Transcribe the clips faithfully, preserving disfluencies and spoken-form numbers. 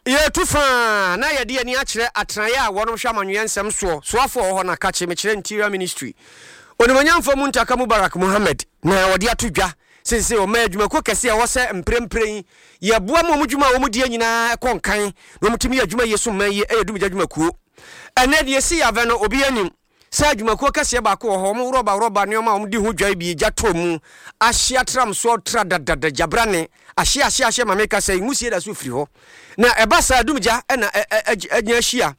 Yɛtu faa na yɛde ani akyerɛ atenaeɛ a wɔnom hwɛ amanyɔeɛ nsɛm soɔ soafoɔ wɔ hɔ na kakye mekyerɛ Interior Ministry Onimuonyamfoɔ Muntaka Mubarak Muhammed na wɔde ato dwa seesei ɔman adwumakuo kɛseɛ a ɛwɔ sɛ mprempren yi yɛboa ma wɔn dwuma a wɔn die nyinaa ɛkɔ nkan na wɔtumi yɛ adwuma yie so mman yie ɛyɛ dumgya adwumakuo. Ɛnɛ deɛ esi avɛ no, obi anim sɛ adwumakuo kɛseɛ baako wɔ hɔ, wɔn rɔba rɔba nneɛma a wɔn di ho dwa bi gya tɔ mu ahye atram soɔ tra dadada gyabrane ahye ahye ahye. Maame kasa yi nwusie da so firi hɔ na ɛba saa dumgya ɛna ɛnya ahyia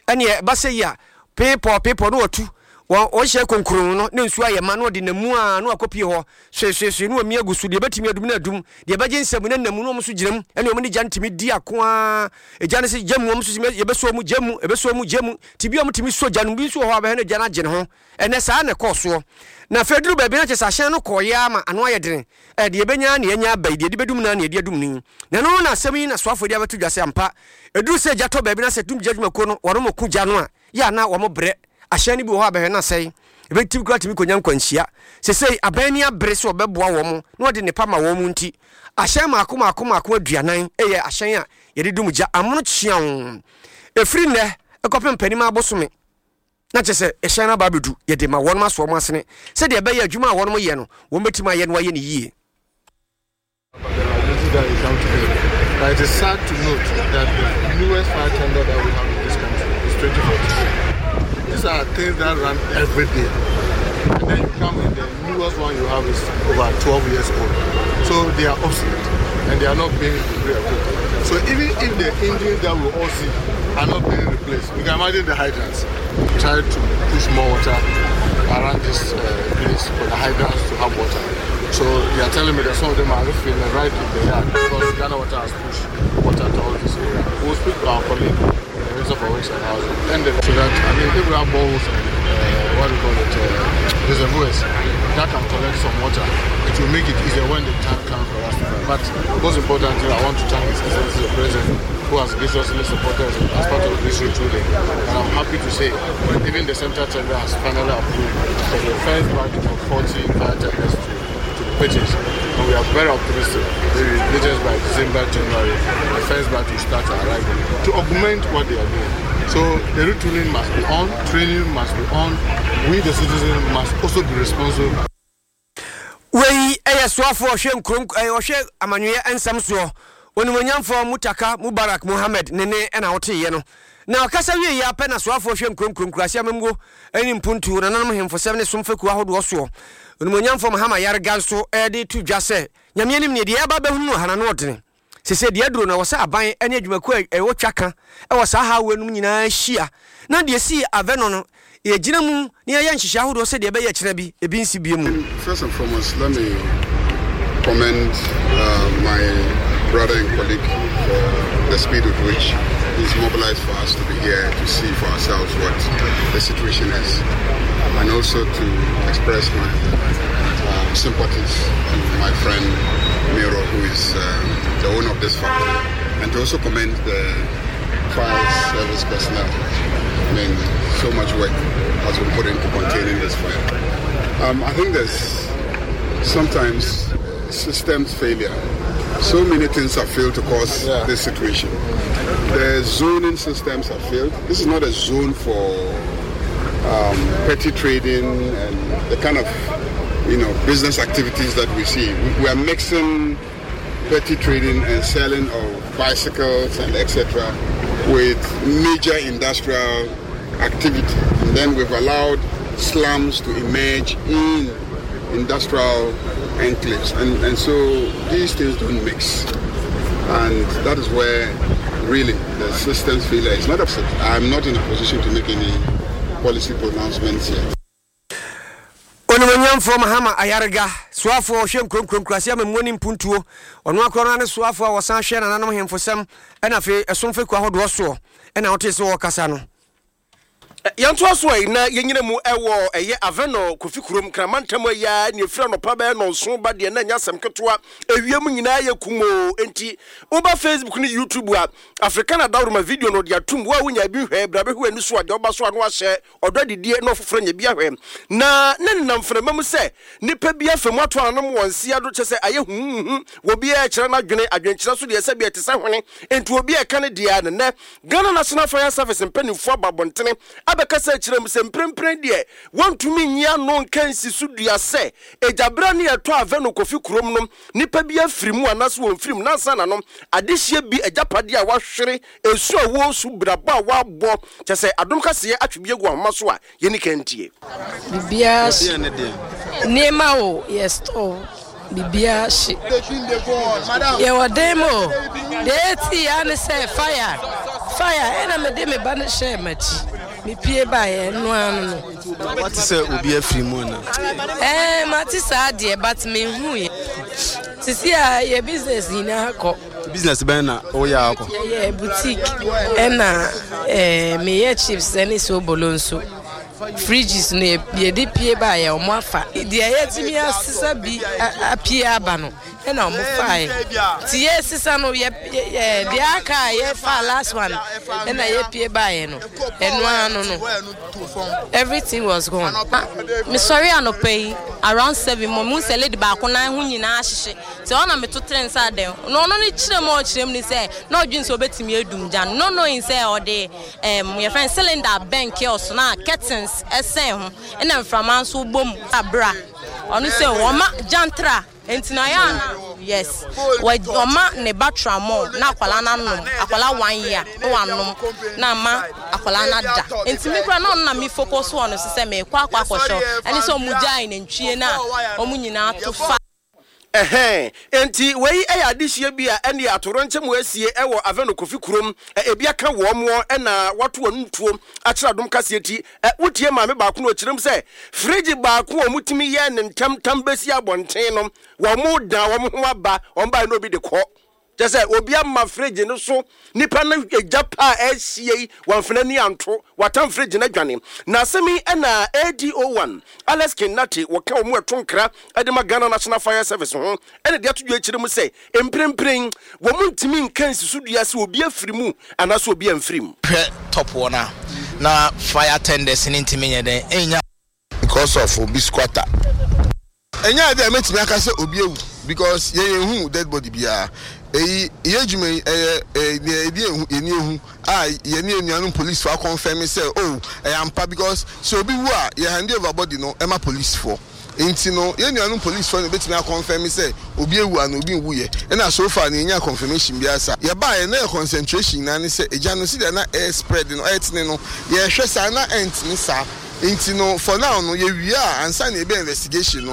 ɛneɛ ɛba sɛ yi a peepɔ peepɔ no wɔtu wɔn wɔhyɛ konkron no ne nsuo ayɛ ma na ɔde namu a na wakɔpie hɔ soesoesoe na wɔmi agu so. Deɛ ɛbɛtumi adum na adum, deɛ ɛbɛgye nsɛm na namu na wɔn nso gyina mu ɛne wɔn ne gya ntumi di ako a egya no sɛ gya mu, wɔn nso yɛbɛsɔ mu gya mu, ɛbɛsɔ mu gya mu ti bi a wɔn tumi sɔ gya no bi nso wɔ hɔ a bɛhɛ no gya no agye ne ho. Ɛnɛ saa na ɛkɔɔ soɔ na afei duru baabi na kyerɛ sɛ ahyɛn no kɔɔyɛ ama ano ayɛ dene. Ɛ deɛ ɛbɛnya ne yɛnya aba yi, deɛ ɛde bɛdum na ne yɛde adum no yi na ɛno na asɛm yi na soafoɔ de abɛto dwa sɛ ampa ɛduru sɛ gya tɔ baabi na sɛ dum gya dwumakuo no wɔn mo ko gya no a yɛ ana wɔn brɛ ahyɛn no bi wɔ hɔ a bɛhwɛ no asɛe, ɛbɛtumi kora tumi kɔnya nkwanhyia. Sesei aban ni abere sɛ ɔbɛboa wɔn na ɔde nipa ma wɔn mu nti ahyɛn maako maako maako aduanan ɛyɛ ahyɛn a yɛde dum gya amono kyeaw ɛfiri nnɛ ɛkɔpem mpanim abosome na kyerɛ sɛ ɛhyɛn no aba abɛdu yɛde ma wɔn aso wɔn asene sɛdeɛ ɛbɛyɛ adwuma a wɔn yɛ no wɔn bɛtumi ayɛ no ayɛ no yie. But it is sad to note that the newest fire tender that we have in this country is twenty fourteen. These are things that run every day. And then you come in, the newest one you have is over twelve years old. So they are obsolete and they are not being re-equipped. So even if the engines that we all see are not being replaced, you can imagine the hydrants. Try to push more water around this uh, place for the hydrants to have water. So they are telling me that some of them are refilling right in the yard because Ghana Water has pushed water to all this area. We'll speak to our colleague, the Minister for Works and Housing, and the, so that, I mean, if we have boreholes and uh, what do you call it, uh, reservoirs that can collect some water, it will make it easier when the time comes for us to buy. But most importantly, I want to thank His Excellency the President, who has graciously supported us as part of this retooling. And I'm happy to say even the central tender has finally approved for the first batch of forty fire tenders to, to be purchased. And we are very optimistic. Maybe latest by December, January, the first batch will start arriving to augment what they are doing. So the retooling must be on, training must be on. We, the citizens, must also be responsible. Wei ɛyɛ soafoɔ ɔhwɛ nkuro ɛyɛ ɔhwɛ amanyɔyɛ nsɛm soɔ Onimonyamfoɔ Mutaka Mubarak Muhammed ne ne ɛna woteeɛ no na ɔkasa wie yɛ apɛ na soafoɔ hwɛ nkuro nkuro nkuraase amammuo ne mpuntuo nananom hemfosɛm ne somfekuo ahodoɔ soɔ Onimonyamfoɔ Mahama Yarega nso ɛde to dwa sɛ Nyame anim ne deɛ ɛba bɛhunu no hana no ɔdene sese deɛ aduro no ɛwɔ sɛ aban ne adwumakuo a ɛwɔ twa ka ɛwɔ saa hawo nom nyinaa hyia na deɛ si avɛ no yɛgyina mu na yɛyɛ nhyehyɛ ahodoɔ sɛdeɛ ɛbɛyɛ kyerɛ bi ebi nsi bie mu. First and foremost, let me commend uh, my brother and colleague for the speed with which he's mobilized for us to be here to see for ourselves what the situation is, and also to express my uh, sympathies to my friend Miro, who is um, the owner of this factory, and to also commend the fire service personnel. I mean, so much work has been put into containing this fire. Um, I think there's sometimes systems failure. So many things have failed to cause yeah. this situation. The zoning systems have failed. This is not a zone for um, petty trading and the kind of you know business activities that we see. We, we are mixing petty trading and selling of bicycles and et cetera with major industrial activity. And then we've allowed slums to emerge in industrial enclaves. And, and so these things don't mix. And that is where really the system's failure is not upset. I'm not in a position to make any policy pronouncements yet. Onimonyamfoɔ Mahama Ayarega soafoɔ ɔhwɛ nkuronkuro nkuraase amammuo ne mpuntuo ɔno akorɔ no ne soafoɔ a wɔsan hwɛ nananom hemfosɛm ɛna afei ɛsom fekuo ahodoɔ soɔ ɛna wote sɛ wɔkasa no. Yɛntoa so a na yɛnyina mu ɛwɔ ɛyɛ Avenor Kofi kurom Kramantam ayi ne ɛfiri anɔpa bɛyɛ nɔnso ba deɛ na ɛnyɛ asɛm ketewa. Ewiem nyinaa yɛ kumoo, enti woba Facebook ne YouTube a, Africana dawroma video no de atum wo a wonya bi hwɛ bra bɛhwɛ ani so a deɛ ɔba so a no ahyɛ ɔdɔ adidie na ɔfoforɔ nya bi ahwɛ. Na ne nenam mframa mu sɛ nipa bi afa mu ato ananom wɔn nsia do, kyɛ sɛ ayɛ huhuhu wɔ biara kyerɛ n'adwene adwenkyerɛ so deɛ sɛ bi ɛte sɛ hwene, enti obi a ɛka ne deɛ ne nnɛ Ghana National Fire Service mpanimfoɔ aba abɔntene abɛkasa akyerɛ mu sɛ mprempren deɛ wɔntumi nyi ano nka nsi so dua sɛ egyabere ne ɛtɔ Avenor Kofi kurom no nipa bi afiri mu anaasɛ wɔmfiri mu nansa na no adehyeɛ bi agyapadeɛ a wahwere esu a wɔresu brabɔ a wabɔ kyɛ sɛ Adom Kaseɛ atwe bi agu ahoma so a yɛni ka ntie. Biribiara hye, nneɛma o, yɛ store biribiara hye. Yɛwɔ dan mu o, deɛ ɛti ya ne sɛ fire fire, ɛna mede me ba no hyɛɛ m'akyi, mepie baeɛ ɛno ano no. Wate sɛ obi afiri mu ana? Ɛɛ, mate saa deɛ, but menhu yɛ. Sisi a yɛ business nyinaa kɔ. Business bɛn na woyɛ akɔ? Yɛyɛ boutique, ɛna ɛɛ meyɛ chips ɛne sobolo nso. Fridges no yɛde pie baeɛ, ɔmo afa. Deɛ yɛtumi asesa bi apue aba no ɛna ɔmo faeɛ. Nti yɛsesa no yɛ yɛ deɛ aka a yɛfa last one ɛna yɛpie baeɛ no, ɛno ano no everything was gone. Mesɔre anɔpa yi around seven mo mu sɛ lady baako nan ho nyinaa ahyehye, nti ɔna meto tere nsa dɛn na ɔno ne kyerɛ mu a ɔkyerɛ mu ne sɛ na ɔdwene sɛ ɔbɛtumi adum gya no, no knowing sɛ ɔde ɛm yɛfrɛ no cylinder bɛn kiosk na curtains ɛsɛn ho, ɛna mframa nso bɔ mu abra ɔno sɛ ɔma gyantra, nti na yɛ ana yes, ɔma ne ba tramol na akwalaa no anom, akwalaa one year na wanom na ama akwalaa no ada. Nti mi kura na ɔno na mi focus wɔ no so sɛ mekɔ akɔ akɔhwɛ ɛne sɛ ɔmo gyae nantwie na ɔmo nyinaa to fa. Ɛhɛn, enti wei ɛyɛ adehyia bi a ɛne atorɔnkyɛm asie ɛwɔ Avenor Kofi kurom. Ebi aka wɔn mo ɛna wato wɔn ntuo akyerɛ Adom Kaseɛ ti. Ɛ wotie maame baako no ɔkyerɛm sɛ fridge baako a wɔtumi yɛ ne ntɛmntɛm bɛsi abɔnten no, wɔn mo da wɔn ho aba wɔn baa na obi de kɔ kyɛ sɛ obi ama fridge no so nipa no egya pa a ɛresie yi wɔnfena ni anto watam fridge no adwane. Na asɛm yi ɛna A D O one Alex Kinate wɔka wɔn ɛto nkra ɛde ma Ghana National Fire Service ho ɛna de ato dwa akyerɛ mu sɛ mprempren wɔn ntumi nka nsi dua sɛ obi afiri mu anaasɛ obi amfiri mu. Hwɛ top wɔ no a na fire tenders ne ntumi nyɛ dɛn ɛnya. Because of obi squatter, ɛnyɛ ade a mɛtumi aka sɛ obi ewu because yɛn yɛn hu dead body biara. Eyi yɛ adwuma yi ɛyɛ ɛyɛ nea ebi ehu yɛn ehu a yɛn enuanom police fo akɔnfɛn mi sɛ oh, ɛyɛ ampa, because sɛ obi wu a, yɛ hand over body no ɛma police fo. Nti no yɛn nuanom police fo no betumi akɔnfɛn mi sɛ obi ewu ana obi nwu yɛ. Ɛna so far no yɛnya confirmation bi asa. Yɛbaa yɛ na yɛ concentration nyinaa ne sɛ egya no si deɛ na ɛyɛ spread no, ɛyɛ tene no, yɛhwɛ saa na ɛntene saa. Nti no for now no, yɛwie a ansa na yɛbɛ investigation no.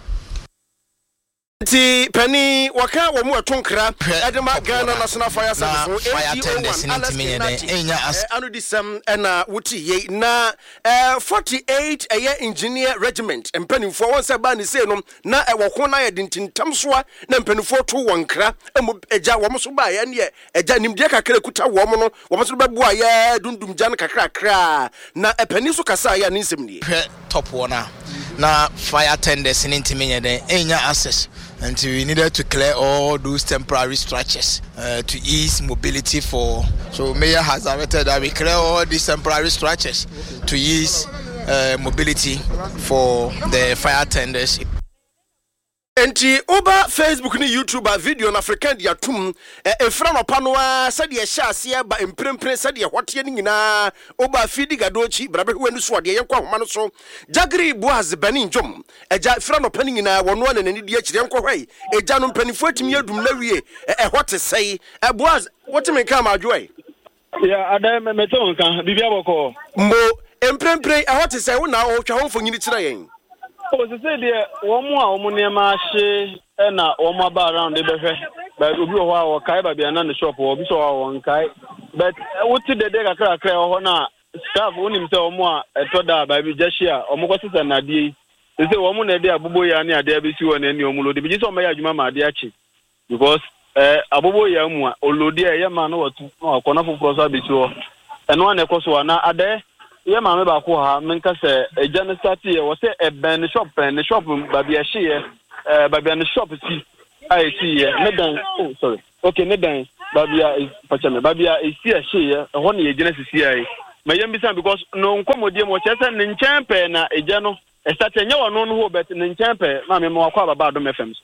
Nti panin wɔka wɔn mu ɛto nkra ɛde ma Ghana National Fire Service ho fire tenders ne ntumi nyɛ dɛn ɛnya as. Ano di sɛm ɛna wote yei na ɛɛ forty eight ɛyɛ Engineer Regiment mpanimfoɔ wɔn sɛ baa ne sei no na ɛwɔ ko na yɛ de ntintam soa na mpanimfoɔ to wɔn nkra ɛmu ɛgya wɔn so baa yɛ neɛ ɛgya nimdeɛ kakra ekuta wɔn no, wɔn nso bɛboa yɛ dundum gya no kakrakra na ɛpanin so kasa yɛ a ne nsɛm nie. Hwɛ top wɔ no a na fire tenders ne ntumi nyɛ dɛn ɛnya access, nti we needed to clear all those temporary structures uh, to ease mobility for, so mayor has directed that we clear all these temporary structures to ease uh, mobility for the fire tenders. Nti woba Facebook ne YouTube a, video no African de atom ɛfira nɔpa no a sɛdeɛ ɛhyɛ aseɛ ba mprempren sɛdeɛ hɔteɛ no nyinaa. Woba Fidi Gadoakyi brabɛhwɛ w'ani so adeɛ. Yɛnkɔ ahoma no so, Gyagere Boaz bani ndwom agya fira nɔpa no nyinaa wɔno a na n'ani di akyire. Yɛnkɔ hɔ yi, agya no mpanimfoɔ atumi adum no awie, ɛhɔ te sɛe? Boaz, woteme nka ama adwoɛ? Ya ada mɛtɛ wo nka, biribi abɔkɔ. Mbo mprempren ɛhɔ te sɛ wo na ɔtwa ho mfonyini kyerɛ yɛn. O sese deɛ, wɔn a wɔn nneɛma ahye ɛna wɔn aba around de bɛhwɛ baabi. Obi wɔ hɔ a wɔkae baabi a na ne shop wɔ, obi sɔ hɔ a wɔnkae, but wote dede kakrakra ɛwɔ hɔ na staff wonim sɛ wɔn a ɛtɔ da a baabi gya hye a wɔn kɔ sesa nnadeɛ yi sese wɔn na ɛde abobo ya ne adeɛ abɛsi hɔ na ɛne wɔn load bi gye sɛ wɔn bɛyɛ adwuma ma adeɛ akye, because ɛɛ abobo ya mu a ɔload a ɛyɛ ma na watu na wakɔ na foforɔ nso abɛsi hɔ. Ɛno a na ɛkɔ so a na adɛ. Yɛ maame baako wɔ ha, menka sɛ agya no start yɛ wɔ sɛ ɛbɛn ne shop pɛn, ne shop baabi a ɛhyeeɛ, ɛɛ baabi a ne shop si a ɛsiiɛ, ne dan, oh sorry, okay, ne dan baabi a pakyɛ me, baabi a ɛsi ɛhyeeɛ, ɛhɔ na yɛgyina sisi a yi. Ma yɛn bisa because no nkɔmmɔdie mu ɔkyerɛ sɛ ne nkyɛn pɛɛ na agya no ɛstart, ɛnyɛ wɔn no ho but ne nkyɛn pɛɛ. Maame, ma wakɔ ababa Adom F M so.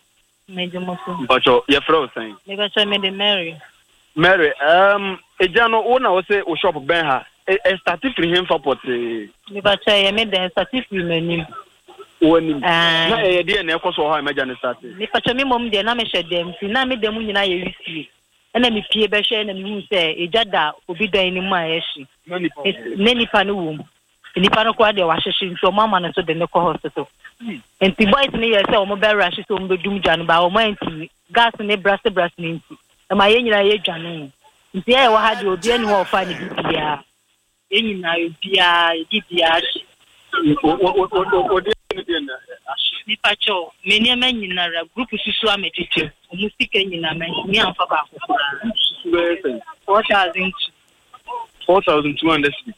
Mpakyɛ, yɛfrɛ wo sɛn? Mepakyɛ, mede Mary. Mary, um, agya no, wo na wo sɛ wo shop bɛn ha, ɛstart firi hemfa pɔtee? Mepakyɛ, yɛ me dan start firi m'anim. W'anim? Na ɛyɛ deɛ na ɛkɔ so wɔ hɔ a ɛmɛgya no start? Mepakyɛ, me mmom deɛ na mehyɛ dɛm nti na me dɛm nyinaa yɛ wisie. Ɛna mepie bɛhwɛ na mehu sɛ egya da obi dan no mu a ɛhye. Ne nipa no wɔ mu. Nipa no koraa deɛ wahyehye nti ɔmo ama no so de ne kɔ hospital. Nti boys no yɛ sɛ ɔmo bɛwura hye sɛ ɔmo bɛdum gya no ba ɔmo antumi. Gas ne brase brase ne nti ɛma yɛn nyinaa yɛ dwane. Nti yɛyɛ wɔ ha deɛ obi ani hɔ ɔfa ne bibiara. Yɛn nyinaa obiara yɛdi biara hye. Nipa kyɛw, me nneɛma nyinara group susu amegyegye. Ɔmo sika nyinaa mantumi amfa baako koraa. Four thousand two. Four thousand two hundred cedis.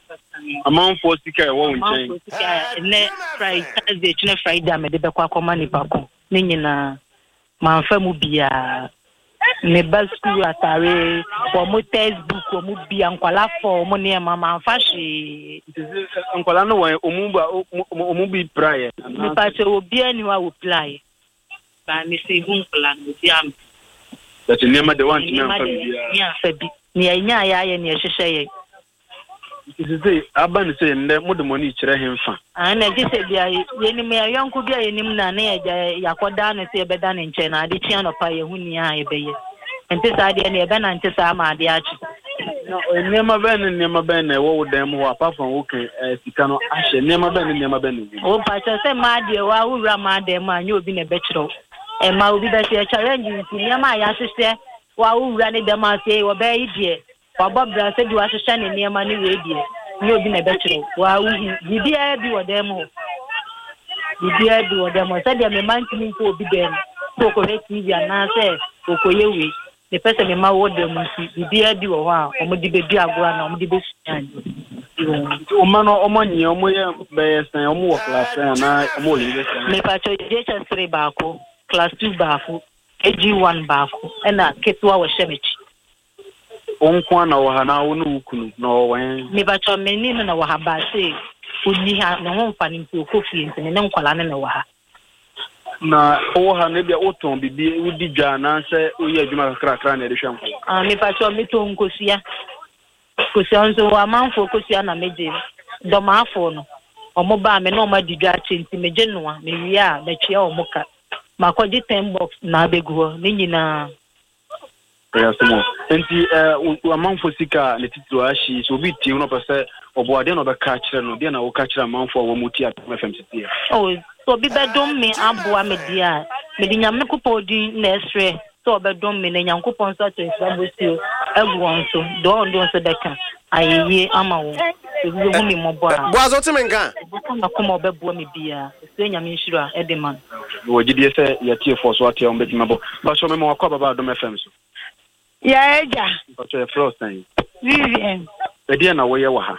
Amanfoɔ sika ɛwɔ wo nkyɛn. Amanfoɔ sika ɛnɛ Friday, Thursday, kyinɛ Friday a mede bɛkɔ akɔma nipa ko ne nyinaa. Mamfa mu biara. Me ba sukuu atare, wɔn textbook, wɔn bia, nkwalaa fɔ, wɔn nneɛma, mamfa hwee. Nkwalaa no wɔn, ɔmu ba, ɔmu bi praeɛ? Nipa kyɛ obiara ni hɔ a wɔpraeɛ. Ba me sɛ ihu nkwalaa no, obiara mpa. Bɛte nneɛma de wantumi amfa biara. Nneɛma de amfa bi. Nea ɛnya ayɛ ayɛ nea ɛhyehyɛ yɛn. Nti sɛ aba ne sɛ nnɛ mode mo ani kyerɛ hemfa? Ah, na gye sɛ bia yɛnim yɛn yɔnko bi a yɛnim na ne yɛgya yɛakɔda no sɛ yɛbɛda ne nkyɛn na ade kye anɔpa yɛhu nea a yɛbɛyɛ. Nti saa deɛ ne yɛbɛnante saa ma ade akye. Na nneɛma bɛn ne nneɛma bɛn na ɛwɔ wo dan mu hɔ apart from wo kan sika no ahyɛ, nneɛma bɛn ne nneɛma bɛn na ɛwɔ mu? Wo mpakyɛ sɛ mmaa deɛ wa wowura mmaa dan mu a nyɛ obi na ɛbɛkyerɛ wo. Ɛma obi bɛsɛ challenge nti nneɛma a yɛahyehyɛ wa wowura ne dɛm ase wɔbɛyɛ yi deɛ wabɔ bra sɛ de wahyehyɛ ne nneɛma ne wei deɛ nyɛ obi na ɛbɛkyerɛ wo. Wa wohu biribiara bi wɔ dan mu hɔ. Biribiara bi wɔ dan mu hɔ. Sɛdeɛ me mma ntumi nkɔ obi dan mu sɛ ɔkɔhwɛ T V anaasɛ ɔkɔyɛ wei. Mepɛ sɛ me mma wɔ dan mu nti biribiara bi wɔ hɔ a wɔde bɛdi agorɔ anaa wɔde bɛsua adeɛ. Nti wɔn mma no wɔn anyɛ wɔn yɛ bɛyɛ sɛn, wɔn wɔ class sɛn anaa wɔn wɔ university? Mepakyɛ J H S three baako, class two baako, A G one baako, ɛna ketewa wɔhyɛ m'akyi. Wo nko ara na wɔ ha na wo ne wo kunu na ɔwɔ hɛn? Mepakyɛ me ne no na wɔ ha ba sɛ onni ha, ne ho mfa no nti ɔkɔ fie nti me ne nkwadaa no na wɔ ha. Na wowɔ ha no ebia wotɔn biribi, wodi dwa anaasɛ woyɛ adwuma kakrakra na ɛde hwɛ nkwadaa? Ah, mepakyɛ metɔn nkosua. Nkosua nso wɔ amanfoɔ kosua na megye. Dɔmaafoɔ no, ɔmo baa me na ɔmo adi dwa akyɛ nti megye noa, mewie a mɛtua ɔmo ka. Makɔgye ten box na abɛgu hɔ, ne nyinaa. Ɛyɛ asɛm o. Nti, eh, amanfoɔ sika a ne titiri ahye, sɛ obi tie mu na ɔpɛ sɛ ɔboa, deɛ na ɔbɛka akyerɛ no, deɛ na woka kyerɛ amanfoɔ a wɔn mu tie Adom F M sisi yɛ? Oh, sɛ obi bɛdom me aboa me deɛ a, mede Nyame Nyankopɔn din na ɛsrɛ sɛ ɔbɛdom me na Nyankopɔn nso ato nhyira bosuo agu wɔn so, deɛ ɔno nso bɛka ayɛyie ama wɔn. Obi bɛhu me mmɔbɔ a. Boaz, wote me nka? Ɔbɛka n'akoma a ɔbɛboa me biara. Ɛsɛ Nyame nhyira ɛde ma no. Wɔ gyidie sɛ yɛtiefoɔ so ate a wɔbɛtumi abɔ. Pastor, mema wakɔ ababa Adom F M so. Yɛ agya. Pastor, yɛfrɛ wo sɛn? Vivian. Ɛdeɛn na woyɛ wɔ ha?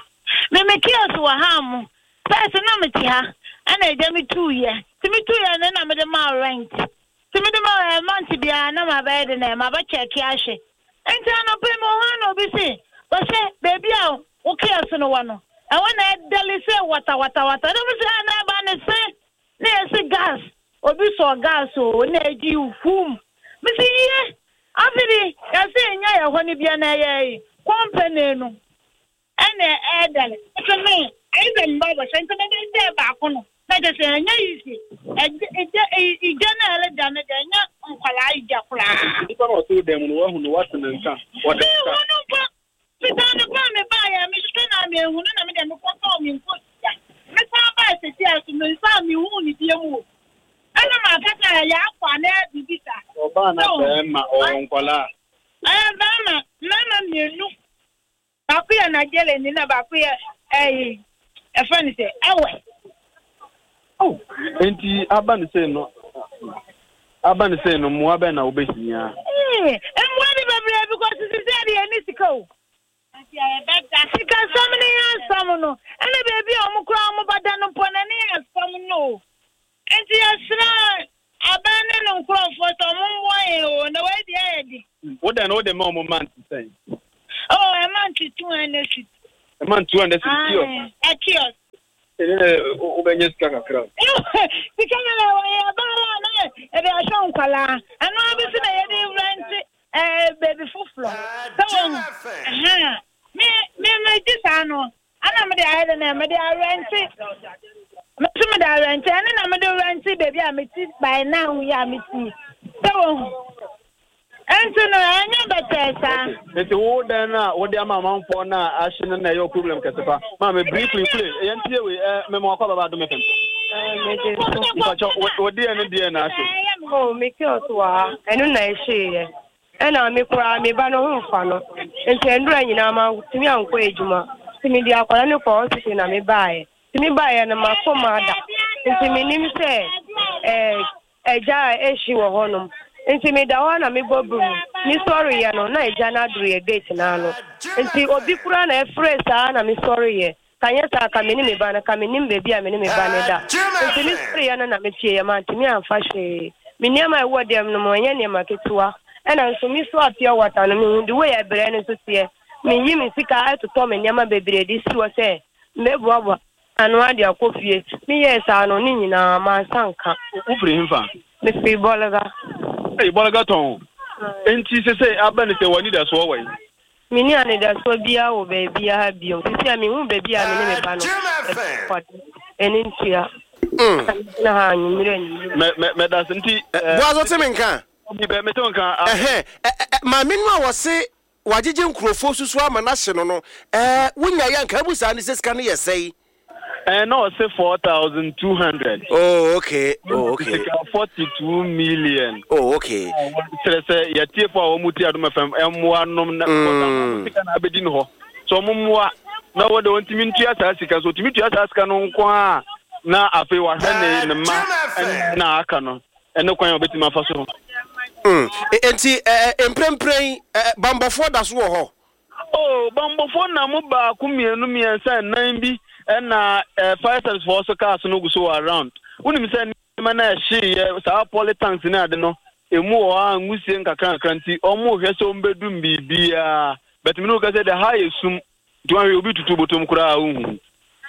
Me me kiosk wɔ ha mo. First na mete ha, ɛna agya me tuiɛ. Nti me tuiɛ no na mede maa rent. Nti mede maa rent month biara na mabɛyɛ de na mabɛkyɛke ahwɛ. Nti anɔpa yi mewɔ hɔ na obi se, wɔhyɛ baabi a wo kiosk no wɔ no, ɛhɔ na ɛdɛle sɛ wata wata wata. Na mo se, ah, na ɛba ne se, na yɛsi gas. Obi sɔ gas o, na ɛgye hum. Me se, yie, afei yɛse nya yɛ hɔ no bia na ɛyɛ company no. Ɛna ɛdɛle. Nti me, ɛyɛ sɛ mba bɔhyɛ, nti me de sɛ baako no. Na kyerɛ sɛ ɛnyɛ easy. Ɛgye, ɛgye, ɛgya na ɛreda no deɛ, ɛnyɛ nkwalaa igya koraa. Nipa na ɔte wo dan mu no, wahu no, wate ne nka. Wɔde Me hu no mpo. Fitaa no paa me baa yɛ, me hwehwɛ na me hu no na me deɛ me kɔtɔɔ me nkosua. Me san baa sisi a so, me nsa a me hu ne bie mu o. Ɛna ma kasa yɛ, yɛ akɔ a na ɛyɛ biribi saa. Ɔbaa na bɛrima, ɔwɔ nkwalaa. Ɛyɛ bɛrima, mmarima mmienu. Baako yɛ Nigeria ni na baako yɛ ɛyi, ɛfɛ ne sɛ ɛwɛ. Oh, enti aba ne sɛ no, aba ne sɛ no, mmoa bɛn na wobɛhia? Ee, mmoa de bebree because sisi sɛ de yɛ ne sika o. Sikasɛm ne yɛ asɛm no, ɛna baabi no wode ma ɔmo month sɛn? Oh, a month two hundred cedis. A month two hundred cedis kiosk? A kiosk. Ɛne wobɛnyɛ sika kakra. Sika no na wɔyɛ abaara na yɛde ahyɛ nkwalaa. Ɛno bi so na yɛde rent ɛɛ baabi foforɔ. Sɛ wɔn ɛhɛn me me me gye saa no ana mede ayɛ dɛ na mede arɛnte. Me nso mede arɛnte ɛne na mede rɛnte baabi a mete by now yi a mete. Sɛ wɔn nti no ɛnyɛ bɛtɛɛ saa. Nti wo dan no a wode ama amanfoɔ no a ahye no na ɛyɛ wo problem kɛse pa. Maame briefly play yɛntie wei ɛ mema wakɔ baba Adom F M. Mpakyɛ wo deɛ ne deɛ na ahye. Oh, me kiosk wɔ ha ɛno na ɛhyeeɛ ɛna me koraa me ba no ho mfa no nti ɛndura nyinaa ma tumi ankɔ adwuma nti mede akwadaa no kɔ hospital na mebaeɛ nti mebaeɛ no makɔ mu ada nti menim sɛ ɛɛ ɛgya a ɛhye wɔ hɔnom nti meda hɔ na mebɔ brum mesɔreyɛ no na ɛgya no aduru yɛ gate no ano nti obi koraa na ɛfrɛ saa na mesɔreyɛ kanyɛ saa ka me ne me ba no ka menim baabi a me ne me ba no da nti mesɔreyɛ no na metieɛ mantumi amfa hwee me nneɛma a ɛwɔ dɛm no mu ɛnyɛ nneɛma ketewa ɛna nso me so a pure water no mehu de wei ɛbrɛ no nso teɛ meyi me sika ɛtotɔ me nneɛma bebree de si hɔ sɛ mbɛboaboa ano ade akɔ fie meyɛɛ saa no ne nyinaa mansa nka. Wofiri hemfa? Mefiri Bɔlga. Ei, Bɔlga tɔn. Enti sɛ sɛ aba ne sɛ w'anidasoɔ wɔ yi? Menni anidasoɔ biara wɔ baabiara biom. Sisi a mehu baabi a me ne me ba no ɛne ntua. Na ha anwummerɛ anwummerɛ. Mɛda se nti. Boaz wote me nka? Mete wo nka. Ɛhɛn, maame no a wɔse wagyegye nkurɔfoɔ susu ama no ahye no no, ɛɛ wonya yɛ anka abu saa ne sɛ sika no yɛ sɛe. Eh, no, say four thousand two hundred. Oh, okay. Oh, okay. Forty two million. Oh, okay. Sɛ sɛ yɛtie fo a wɔn ti Adom F M ɛmoa nom na sika na abɛdi no hɔ. So wɔn mmoa na wɔde wɔn ntumi ntua saa sika so ntumi tua saa sika no nko a na afei wahwɛ ne ne mma na aka no ɛne kwan a wɔbɛtumi afa so. Mm. Enti mprempren bambɔfoɔ da so wɔ hɔ. Oh, bambɔfoɔ na mo baako mmienu mmiɛnsa nnan bi ɛna fire service foɔ so cars no gu so wɔ around. Wonim sɛ nneɛma na ɛhyeeɛ saa poly tanks ne ade no emu wɔ hɔ a nwusie nkakra nkakra nti ɔmo hwɛ sɛ ɔmbɛdum biribiara. But me no ka sɛ the high esum nti wɔn ahwɛ obi tutu botom koraa wohu.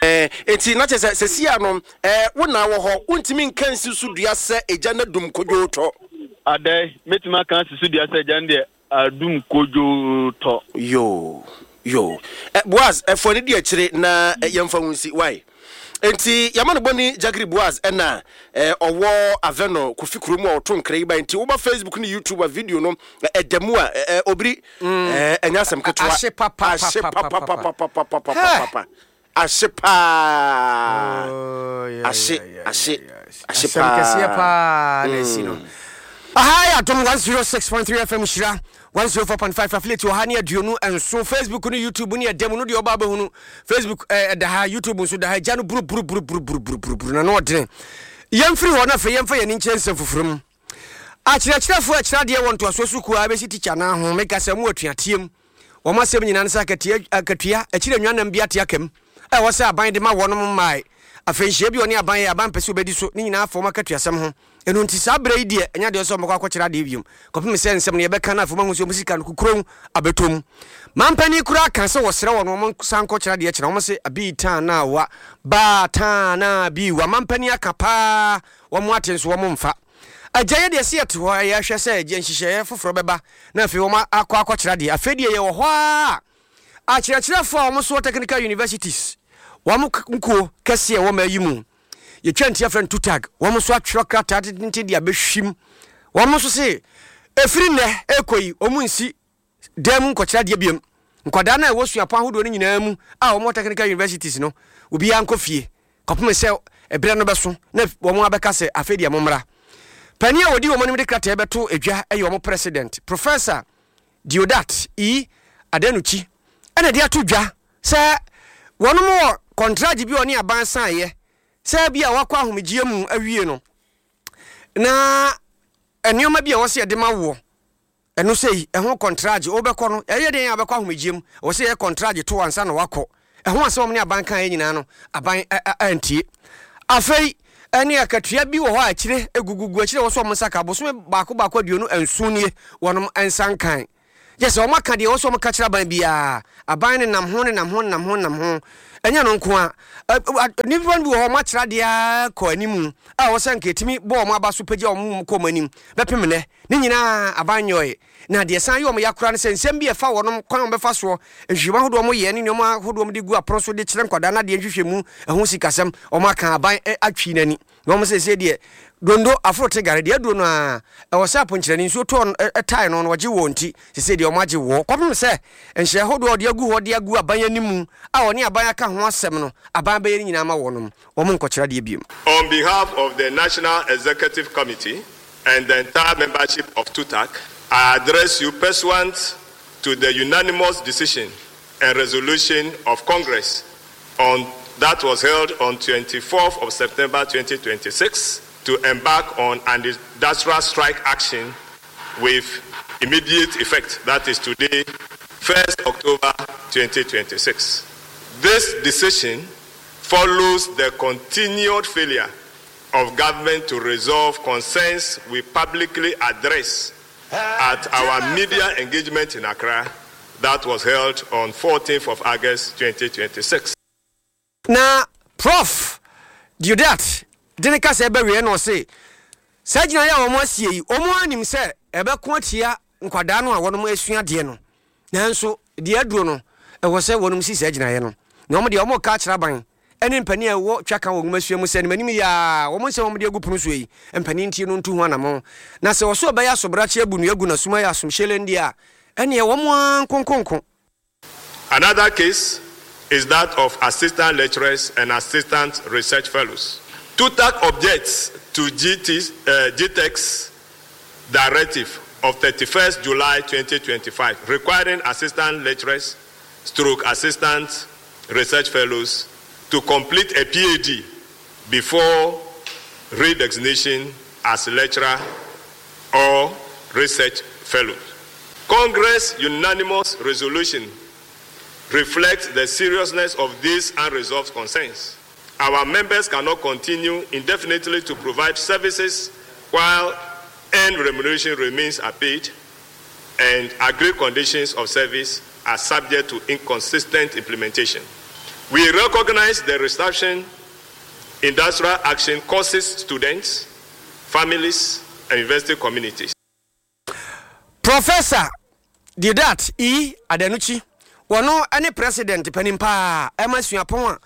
Eh, enti na kyerɛ sɛ sɛsi ano eh, wo na wɔ hɔ wontumi nka nsi so dua sɛ egya no adum kodwoo tɔ. Adɛ mɛtumi aka nsi so dua sɛ egya no deɛ adum kodwoo tɔ. Yo yo eh, Boaz ɛfɔ eh, ne di akyire na eh, yɛmfa wo nsi wai. Enti yɛma no bɔne Jagiri Boaz ɛna eh, ɔwɔ Aveno Kofi kurom a ɔto nkra yi ba. Enti woba Facebook ne YouTube a video no ɛda mu a eh, obiri ɛnyɛ asɛm ketewa. Ahye papa ahye papa papa papa papa papa ahye paa ahye ahye ahye paa kɛseɛ paa na esi no. Aha yɛ Adom one oh six point three F M Hyira one oh four point five affiliate wɔ ha ne aduonu nso Facebook ne YouTube ne ɛda mu no deɛ ɔba abɛhunu Facebook ɛda ha YouTube nso da ha gya no buru buru buru buru buru buru buru na no ɔdene. Yɛmfiri hɔ na afei yɛmfa yɛn ani nkyerɛ nsɛm foforɔ mu. Akyerɛkyerɛfoɔ akyerɛ adeɛ wɔ ntoasoɔ sukuu a bɛsi tikya no ho meka sɛ mu atuateɛ mu wɔn asɛm nyinaa ne sɛ akatua akatua akyire nwanam bi ate akam ɛwɔ sɛ aban de ma wɔnom mmae. Afei nhyia bi ɔne aban yɛ aban pɛ sɛ obɛdi so ne nyinaa fɔm akatuasɛm ho. Ɛno nti saa berɛ yi deɛ ɛnyɛ deɛ sɛ ɔmmɔkɔ akɔkyerɛ adeɛ biom kɔpem sɛ nsɛm no yɛbɛka no afei mahu sɛ ɔmo sika no kukurom abɛtɔ mampani koraa ka sɛ wɔsrɛ wɔ no ɔmo san kɔkyerɛ adeɛ kyerɛ ɔmo se abi taa na wa baa taa na bi wa mampani aka paa wɔn ate nso wɔn mfa agya yɛ deɛ sɛ yɛte hɔ ɛyɛ ahwɛ sɛ agya nhyehyɛeɛ foforɔ bɛba na afei wɔn akɔ akɔkyerɛ adeɛ. Afei deɛ yɛwɔ hɔ a akyerɛkyerɛfoɔ a wɔn so wɔ technical universities wɔn nkuo kɛseɛ wɔ ma yi mu yɛtwa nti afrɛ no tutag wɔn nso atwerɛ krataa tententen de abɛhwim wɔn nso se ɛfiri nnɛ ɛkɔ yi wɔn nsi dan mu nkɔkyerɛ adeɛ biom. Nkwadaa no a ɛwɔ suapɔn ahodoɔ no nyinaa mu a wɔn wɔ technical universities no obiara nkɔ fie kɔpem sɛ ɛberɛ no bɛso na wɔn abɛka sɛ afei deɛ mommra. Panin a wɔdi wɔn anim de krataa bɛto edwa ɛyɛ wɔn president Professor Diodat E Adenuchi ɛna de ato dwa sɛ wɔn wɔ kɔntragye bi a ɔne aban saeɛ sɛ bi a wakɔ ahomegyeɛ mu awie no na nneɛma bi a wɔsɛ yɛde ma woɔ ɛno sɛ ɛho kɔntragye wobɛkɔ no ɛyɛ deɛ a wobɛkɔ ahomegyeɛ mu wɔsɛ yɛ kɔntragye to ansa na wakɔ ɛho asɛm ne aban kan yɛ nyinaa no aban antie. Afei ɛne akatua bi wɔ hɔ a akyire egugugu akyire wɔ so ɔmo nsa ka bosome baako baako aduonu nson nie wɔnom nsa nkan. Gye sɛ wɔaka deɛ ɛwɔ sɛ wɔka kyerɛ aban biara. Aban no nam ho nenam ho nenam ho nenam ho. Ɛnyɛ ɛno nko ara, nnipa no bi wɔ hɔ wɔakyerɛ adeɛ ara kɔ anim a ɛwɔ sɛ anka ɛtumi bɔ wɔn aba so pagya wɔn kɔ wɔn anim bɛpem nnɛ. Ne nyinaa aban nyɔe. Na deɛ ɛsan yɛ wɔn ya koraa ne sɛ nsɛm bi a ɛfa wɔn kwan a wɔbɛfa soɔ, nhwehwɛmu ahodoɔ a wɔyɛ ne nneɛma ahodoɔ a wɔde gu apono so de kyerɛ nkwadaa no adeɛ nhwehwɛmu, ɛho sikasɛm, wɔaka aban atwi n'ani. Na wɔn seesei deɛ, dondo, aforo te gare, deɛ aduro no ara, ɛwɔ sɛ aponkyerɛni nsuo tɔɔ no, ɛtae no na ɔgye wɔn nti, seesei deɛ wɔagye wɔ. Kɔpem sɛ nhyehyɛe ahodoɔ a wɔde agu hɔ de agu aban anim a wɔne aban aka ho asɛm no, aban bɛyɛ ne nyinaa ama wɔnom, wɔn nkɔkyerɛ adeɛ biom. On behalf of the National Executive Committee and the entire membership of TUTAC, I address you pursuant to the unanimous decision and resolution of Congress on that was held on twenty-fourth of September twenty twenty-six to embark on an industrial strike action with immediate effect, that is today, first October twenty twenty-six. This decision follows the continued failure of government to resolve concerns we publicly address at our media engagement in Accra that was held on fourteenth of August twenty twenty-six. Na Prof. Deodat de ne kasa reba awieɛ no ɔse, saa gyinaeɛ a wɔn asie yi, wɔn ara nim sɛ ɛbɛko atia nkwadaa no a wɔnom resua adeɛ no, nanso deɛ aduro no, ɛwɔ sɛ wɔnom si saa gyinaeɛ no. Na wɔn deɛ wɔn reka akyerɛ aban ne mpanin a ɛwɔ twaka wɔ nwomasua mu sɛ, animanim yi ara, wɔn nsɛm a wɔde agu pono soɔ yi, mpanin ntie no ntu ho anamɔn. Na sɛ ɔso ɔbɛyɛ asobrakye abu nnua agu n'asom ayɛ asomhyɛlɛn deɛ a, ɛnneɛ wɔn ara nkonkonko. Another case is that of assistant lecturers and assistant research fellows. TUTAC objects to G T, uh, GTEC's directive of thirty-first July twenty twenty-five requiring assistant lecturers stroke assistant research fellows to complete a P H D before redesignation as lecturer or research fellow. Congress unanimous resolution reflects the seriousness of these unresolved concerns. Our members cannot continue indefinitely to provide services while earned remuneration remains unpaid and agreed conditions of service are subject to inconsistent implementation. We recognize the disruption industrial action causes students, families, and university communities. Professor Deodat E. Adenuchi, wɔno ne President panin paa ɛma suapɔn a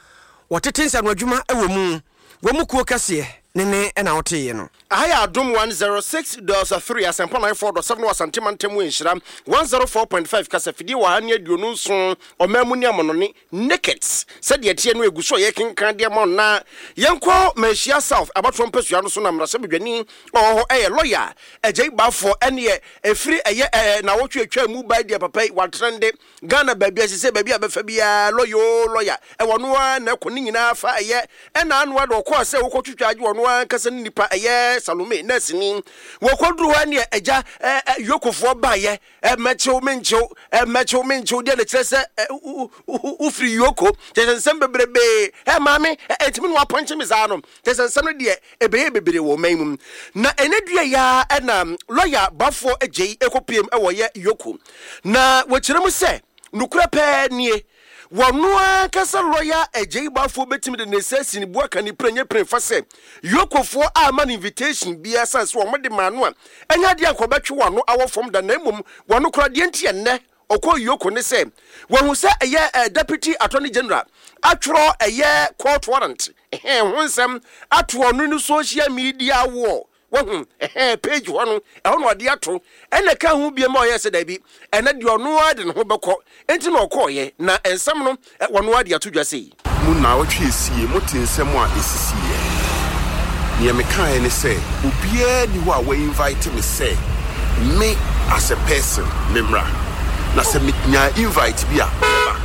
wɔtete nsanoadwuma wɔ mu wɔ mu kuo kɛseɛ ne ne na woteeɛ no. Aha yɛ Adom one zero six dot three, Asɛmpa nine four dot seven wɔ Asante Mantam mu Nhyira one zero four point five kasafidie wɔ ha ne aduonu nson ɔman mu ne amanɔne Nakeds sɛdeɛ ɛteɛ no ɛgu so a yɛkenkan de ama wo na yɛnkɔ Manhyia South abatoɔ mpasua no so na mmarahyɛbadwani a ɔwɔ hɔ ɛyɛ lɔya Agyei Baffour ɛneɛ ɛfiri ɛyɛ ɛɛ nawɔtwe atwa mu bae deɛ papa yi watrɛnde Ghana baabi a sesei baabi a bɛfa biara lɔya oo lɔya ɛwɔ no ara na ɛkɔ ne nyinaa fa ɛyɛ ɛna ano ara de ɔkɔɔ sɛ wokɔtwitwa agye ɔno ara ankasa ne nipa ɛyɛ Salome nɛɛseni wɔkɔduru hɔ ɛneɛ agya ɛ ɛ yokofoɔ baeɛ ɛ mɛkyew menkyew ɛ mɛkyew menkyew deɛ na kyerɛ sɛ ɛ wofiri yoko kyerɛ sɛ nsɛm bebrebee ɛ maame ɛ ɛntumi na wapɔnkye me saa no kyerɛ sɛ nsɛm no deɛ ɛbɛyɛ bebree wɔ ɔman mu na ɛnɛ dua yi ara ɛna lɔya Baffour Agyei ɛkɔpiem ɛwɔ yɛ yoko na wɔkyerɛ mu sɛ nokorɛ pɛɛ nie wɔno ankasa lɔya Agyei Baffour bɛtumi de ne nsa asi ne bo aka ne pire nyɛ pire fa sɛ yokofoɔ amma no invitation biara sane sɛ wɔn de maa no a ɛnyɛ adeɛ anka ɔbɛtwe wɔn ano awɔ fam da na mmom wɔno koraa deɛ nti ɛnnɛ ɔkɔɔ Yoko ne sɛ wahu sɛ ɛyɛ eh, Deputy Attorney General atwerɛ ɛyɛ court warrant ɛhɛn ho nsɛm ato ɔno ne social media wall wahu ɛhɛn page hɔ no ɛhɔ na ɔde ato ɛna ɛka ho biem a ɔyɛ sɛ daabi ɛnɛ deɛ ɔno ara de ne ho bɛkɔ nti na ɔkɔɔyɛ na nsɛm no ɔno ara de ato dwa sei. Mu nnaawɔtwe esie, mote nsɛm a esisiiɛ. Neɛ mekaeɛ ne sɛ, obiara nni hɔ a wa-invite me sɛ me as a person memmra. Na sɛ menyaa invite bi a, mɛba.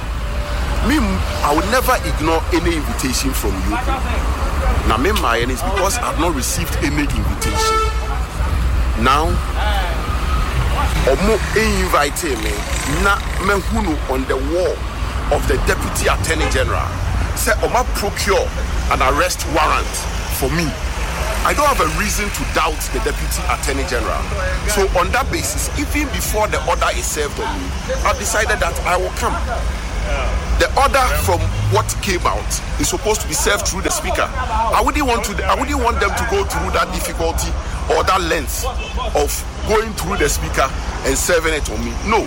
Me, I will never ignore any invitation from you. Na memmaeɛ no is because I have not received any invitation. Now, ɔmo invitee me na mahu no on the wall of the Deputy Attorney General sɛ ɔmo procure an arrest warrant for me. I don't have a reason to doubt the Deputy Attorney General. So on that basis, even before the order is served on me, I've decided that I will come. The order from what came out is supposed to be served through the speaker. I wouldn't want to. I wouldn't want them to go through that difficulty or that length of going through the speaker and serving it on me. No.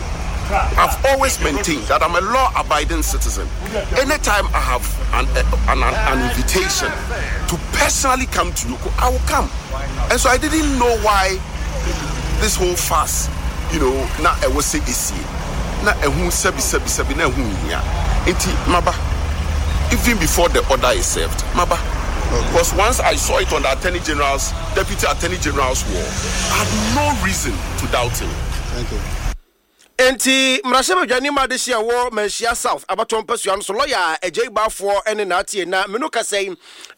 I've always maintained that I'm a law-abiding citizen. Anytime I have an, an, an, an invitation to personally come to EOCO, I will come. And so I didn't know why this whole fuss, you know, na ɛwɔ sɛ esie na ɛho sɛbi sɛbi sɛbi na ɛho nhia nti maba even before the order is served maba because once I saw it on the attorney general's deputy attorney general's wall I had no reason to doubt him. Thank you. Enti mmarahyɛbadwani ma de hyia wɔ Manhyia South abatoɔ mpasua no so lɔya Agyei Baafoɔ ne n'atie na menu kasa yi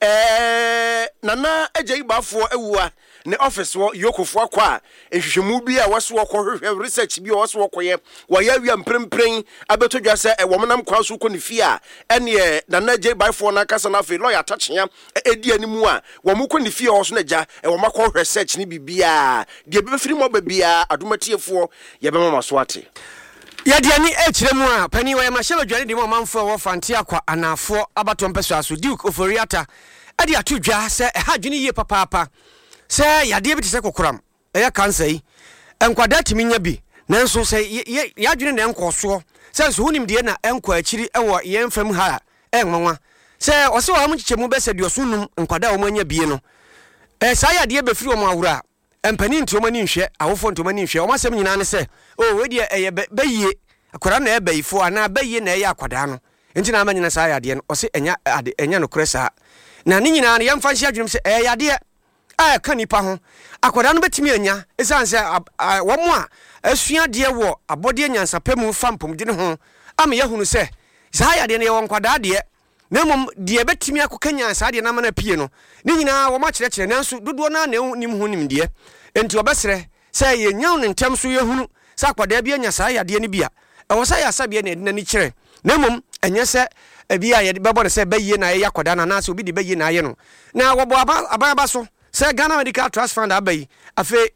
ɛɛ Nana Agyei Baafoɔ awua ne office wɔ EOCOfoɔ akɔ a nhwehwɛmu bi a wɔso wɔkɔhwehwɛ research bi a wɔso wɔkɔyɛ wɔyɛ awia mprempren abɛtɔ dwa sɛ wɔn nam kwan so kɔ ne fie a ɛneɛ Nana Agyei Baafoɔ no ankasa no afei lɔya Atakyea ɛdi anim a wɔn kɔ ne fie a ɔso no agya wɔn akɔhwɛ research ne biribiara deɛ bɛfiri mu aba biara adomatiefoɔ yɛbɛma ma so ate. Yɛde ani rekyerɛ mu a, panin wɔ yɛn mmarahyɛbadwani de ma ɔmanfoɔ a ɛwɔ Fante Akwa Anaafoɔ abatoɔ mpɛsoa so, Duke Ofori-Atta de ato dwa sɛ ɛha adwene yie papaapa sɛ yadeɛ bi te sɛ kokoram, ɛyɛ cancer yi, nkwadaa tumi nya bi, nanso sɛ yɛn adwene na ɛnkɔɔ soɔ sɛ nso ho nimdeɛ na ɛnkɔ akyiri wɔ yɛn fam ha a, ɛyɛ nwanwa sɛ ɔsɛ ɔha mu nkyekyɛmu bɛsɛ aduɔson num nkwadaa a wɔn anya bie no, saa yadeɛ bɛfiri wɔn ahorow a mpanin nti wɔn ani nhwɛ, awofoɔ nti wɔn ani nhwɛ, wɔn asɛm nyinaa ne sɛ, oh, wei deɛ ɛyɛ bɛ bɛyie, akwadaa na ɛyɛ bɛyifoɔ anaa bɛyie na ɛyɛ akwadaa no, nti na ama nyina saa yadeɛ no. Ɔse ɛnyɛ ade, ɛnyɛ nokorɛ saa. Na ne nyinaa no yɛmfa nhyɛ adwenem sɛ ɛyɛ yadeɛ a ɛka nipa ho. Akwadaa no bɛtumi anya, ɛsiane sɛ wɔn a asua adeɛ wɔ abɔdeɛ nyansapɛ mu fa mpɔmuden ho ama yɛahunu sɛ saa yadeɛ no yɛwɔ nkwadaa deɛ, na mmom deɛ ɛbɛtumi akɔkanyan saa adeɛ no ama no apue no, ne nyinaa wɔn akyerɛkyerɛ, nanso dodoɔ no ara na ɛnnim ho nimdeɛ. Enti wɔbɛsrɛ sɛ yɛnya no ntɛm so yɛhunu sɛ akwadaa bi anya saa yadeɛ no bi a, ɛwɔ sɛ ayaresabea na yɛde n'ani kyerɛ, na mmom ɛnyɛ sɛ ebi a yɛde bɛbɔ no sɛ bɛyie na ɛyɛ akwadaa no anaasɛ obi de bɛyie na ayɛ no. Na wɔbɔ aban aban aba so sɛ Ghana Medical Trust Fund aba yi, afei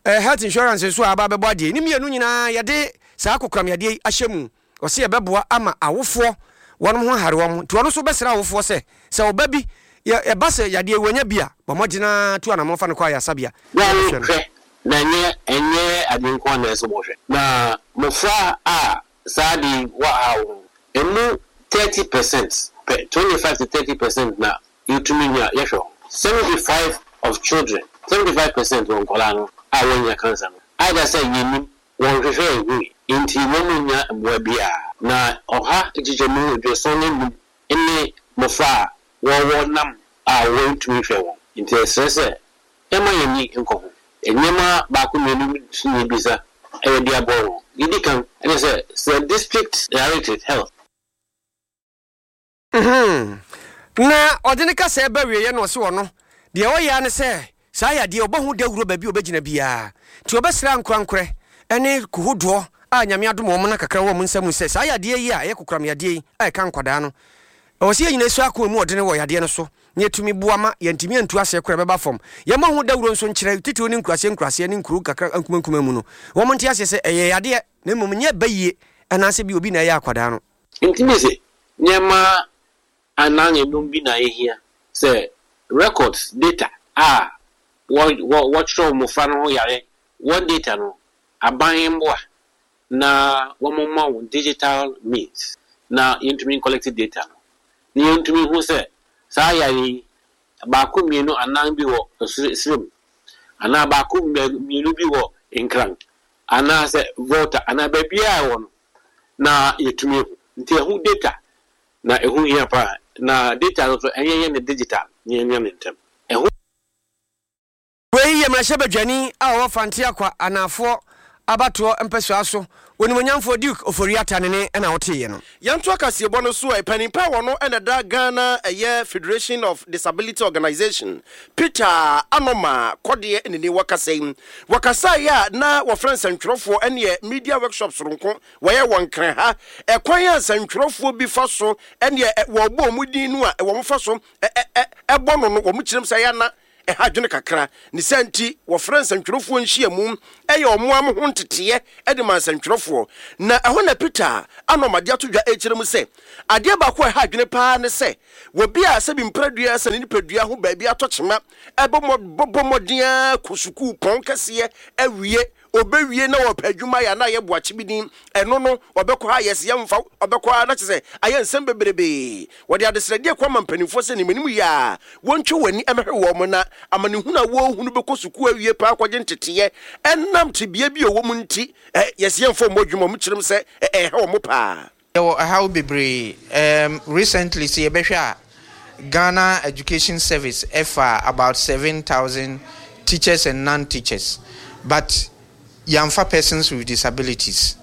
eh, health insurance nso a aba abɛbɔ adeɛ yi, ne mmienu nyinaa yɛde saa kokoram yadeɛ yi ahyɛ mu. Ɔse ɛbɛboa ama awofoɔ wɔnom ho ahare wɔn, nti ɔno nso bɛsrɛ awofoɔ sɛ, sɛ ɔba bi yɛ ɛba sɛ yadeɛ yi wanya bi a, bɔ mmɔden ara tu anamɔn fa no kɔ ayaresabea na Wɔn yɛbɛhwɛ no. hwɛ, na ɛnyɛ ɛnyɛ ade nko ara na ɛsɛ sɛ wɔhwɛ. Na mmofra a saa ade yi wɔ haw no, emu thirty percent pɛ, twenty five to thirty percent na yetumi nya yɛhwɛ wɔn. Seventy five of children, seventy five percent wɔ nkwadaa no a wɔanya cancer no, either sɛ yennim, wɔnhwehwɛɛ nhui, enti wɔnnya mmoa biara. Na ɔha nkyekyɛmu aduoson ne nnum ne mmofra a wɔwɔ nam a wɔntumi nhwɛ wɔn. Enti yɛsrɛ sɛ yɛmma yɛn ani nkɔ ho. Nneɛma baako mmienu bi nso na yɛbisa yɛde aboa wɔn. Deɛ ɛdi kan ne sɛ, sɛ District Directorate Health. Mm-hmm. Na ɔde ne kasa ɛba wieɛ na ɔse ɔno deɛ ɔyɛ ara ne sɛ saa yadeɛ ɔbɔ ho dawuro baabi a ɔbɛgyina biara nti ɔbɛsrɛ ankorankorɛ ne kohodoɔ a Nyame adom wɔn na kakra wɔ wɔn nsa mu sɛ saa yadeɛ yi a ɛyɛ kokoram yadeɛ yi a ɛka nkwadaa no ɛwɔ sɛ yɛn nyinaa sua ako emu ɔdene wɔ yadeɛ no so na yɛtumi boa ma yɛntumi antu aseɛ koraa ɛbɛba fam. Yɛmmɔ ho dawuro nso nkyerɛ titiriw ne nkuraseɛ nkuraseɛ ne nkuro nkakra nkumankuma mu no wɔn nte aseɛ sɛ ɛyɛ yadeɛ na mmom nyɛ bayie anaasɛ bi obi na ɛyɛ akwadaa no. Enti mise, nneɛma anan anum bi na ehia sɛ records, data, a wɔ wɔ wɔkyerɛw mmofra no ho yare wɔn data no, aban mmoa na wɔmma wɔn digital means na yɛntumi ncollect data no na yɛntumi nhu sɛ saa yare yi baako mmienu anan bi wɔ Srem anaa baako mmienu bi wɔ Nkran anaasɛ Volta anaa baabiara a ɛwɔ no na yɛtumi ahu. Nti ɛho data na ɛho hia paa na data no nso ɛnyɛ yɛ no digital na yɛnya no ntɛm. Ɛho. Wei yɛ mmarahyɛbadwani a ɔwɔ Fante Akwa Anaafoɔ abatoɔ mpɛsoa so, Onimuonyamfoɔ Duke Ofori-Atta ne ne na woteeɛ no. Yɛntoa kaseɛbɔ no so ɛ, panin pa a ɔno na ɛda Ghana ɛyɛ Federation of Disability Organisation, Peter Anoma Kɔdeɛ ne ni wɔkasa yi. Wɔkasaeɛ a na wɔfrɛ nsɛntwerɛfoɔ ɛneɛ media workshop soronko wɔyɛ wɔ Nkran ha. Ɛkwan a nsɛntwerɛfoɔ bi fa so ɛneɛ wɔbɔ wɔn din no a wɔn fa so bɔ no no wɔn kyerɛm sɛ ɛyɛ ana Ɛha adwene kakra. Ne saa nti, wɔfrɛ nsɛntwerɛfoɔ nhyiamu yɛ wɔn ara ho nteteeɛ de ma nsɛntwerɛfoɔ. Na ɛhɔ na Peter Anom de ato dwa rekyerɛ mu sɛ, adeɛ baako a ɛha adwene pa ara ne sɛ, obi a sɛbi mprɛdua sɛ ne nipadua ho baabi atɔ kyema bɔ bɔ mmɔden ara kɔ sukuu pɔn kɛseɛ awie, ɔbɛwie na ɔrepɛ adwuma ayɛ a na ayɛ boakye bi din, ɛno no ɔbɛkɔ ha yɛse yɛmfa wo, ɔbɛkɔ ha na kyerɛ sɛ ayɛ nsɛm bebrebee. Wɔde adesrɛdeɛ kɔ ama mpanimfoɔ sɛ nim anim yɛ a wɔntwe wɔn ani mmɛhwɛ wɔn na amanehunu a wɔrehunu bɛkɔ sukuu awie paa akɔgye nteteeɛ ɛnam tebea bi a wɔwɔ mu nti, yɛse yɛmfa wɔn adwuma, wɔkyerɛ mu sɛ ɛreha wɔn paa. Yɛwɔ ɛhaw bebree. Erm recently sɛ yɛbɛhwɛ a, Ghana Education Service ɛfaa about seven thousand teachers and non-teachers but yɛamfa persons with disabilities.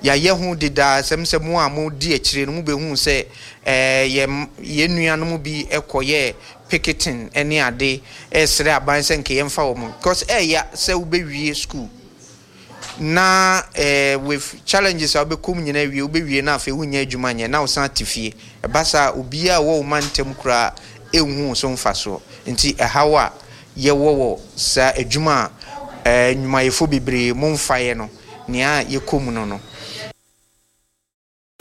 Yɛayɛ ho dedaa sɛm sɛ mo a modi akyire no mobɛhuu sɛ eh, yɛn yɛn nuanom bi kɔyɛɛ picketing ne ade resrɛ aban sɛ nka yɛmfa wɔn because ɛɛya sɛ wobɛwie school na eh, with challenges a wobɛkɔ mu nyinaa wie, wobɛwie na afei wonnya adwuma nyɛ na wosan te fie. Ɛba saa a, obiara a ɔwɔ wo mantam koraa nhu wo so mfasoɔ. Nti ɛhaw a yɛwɔ wɔ saa adwuma a eh, nnwumayɛfoɔ bebree momfaeɛ no, nea yɛkɔ mu no no.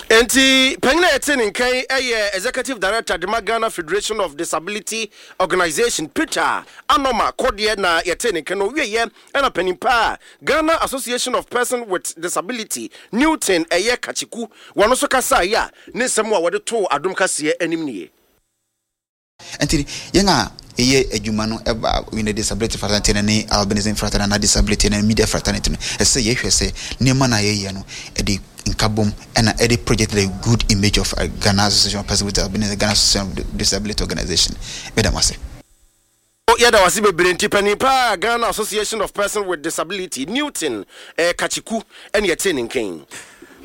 Enti panyin a yɛtee ne nka yi yɛ Executive Director de ma Ghana Federation of Disability Organisation, Peter Anoma Kɔdeɛ na yɛtee ne nka no. Ɔwieɛ na panin pa a Ghana Association of Person with Disability, Newton Ɛyɛ Kachiku, wɔn nso kasaeɛ a ne nsɛm a wɔde too Adom Kaseɛ anim nie. Nti yɛn a yɛyɛ adwuma no ɛba in the disability fraternity no ne albinism fraternity anaa disability no media fraternity no, ɛsɛ sɛ yɛhwɛ sɛ nneɛma no a yɛyɛ no ɛde nkabom ɛna ɛde project the good image of Ghana Association of Persons with Albinism, Ghana Association of Disability Organization. Meda mo ase. Yɛda wo ase bebree nti panin paa Ghana Association of Persons with Disability, Newton eh, Kachiku ɛne yɛtee ne nka yi.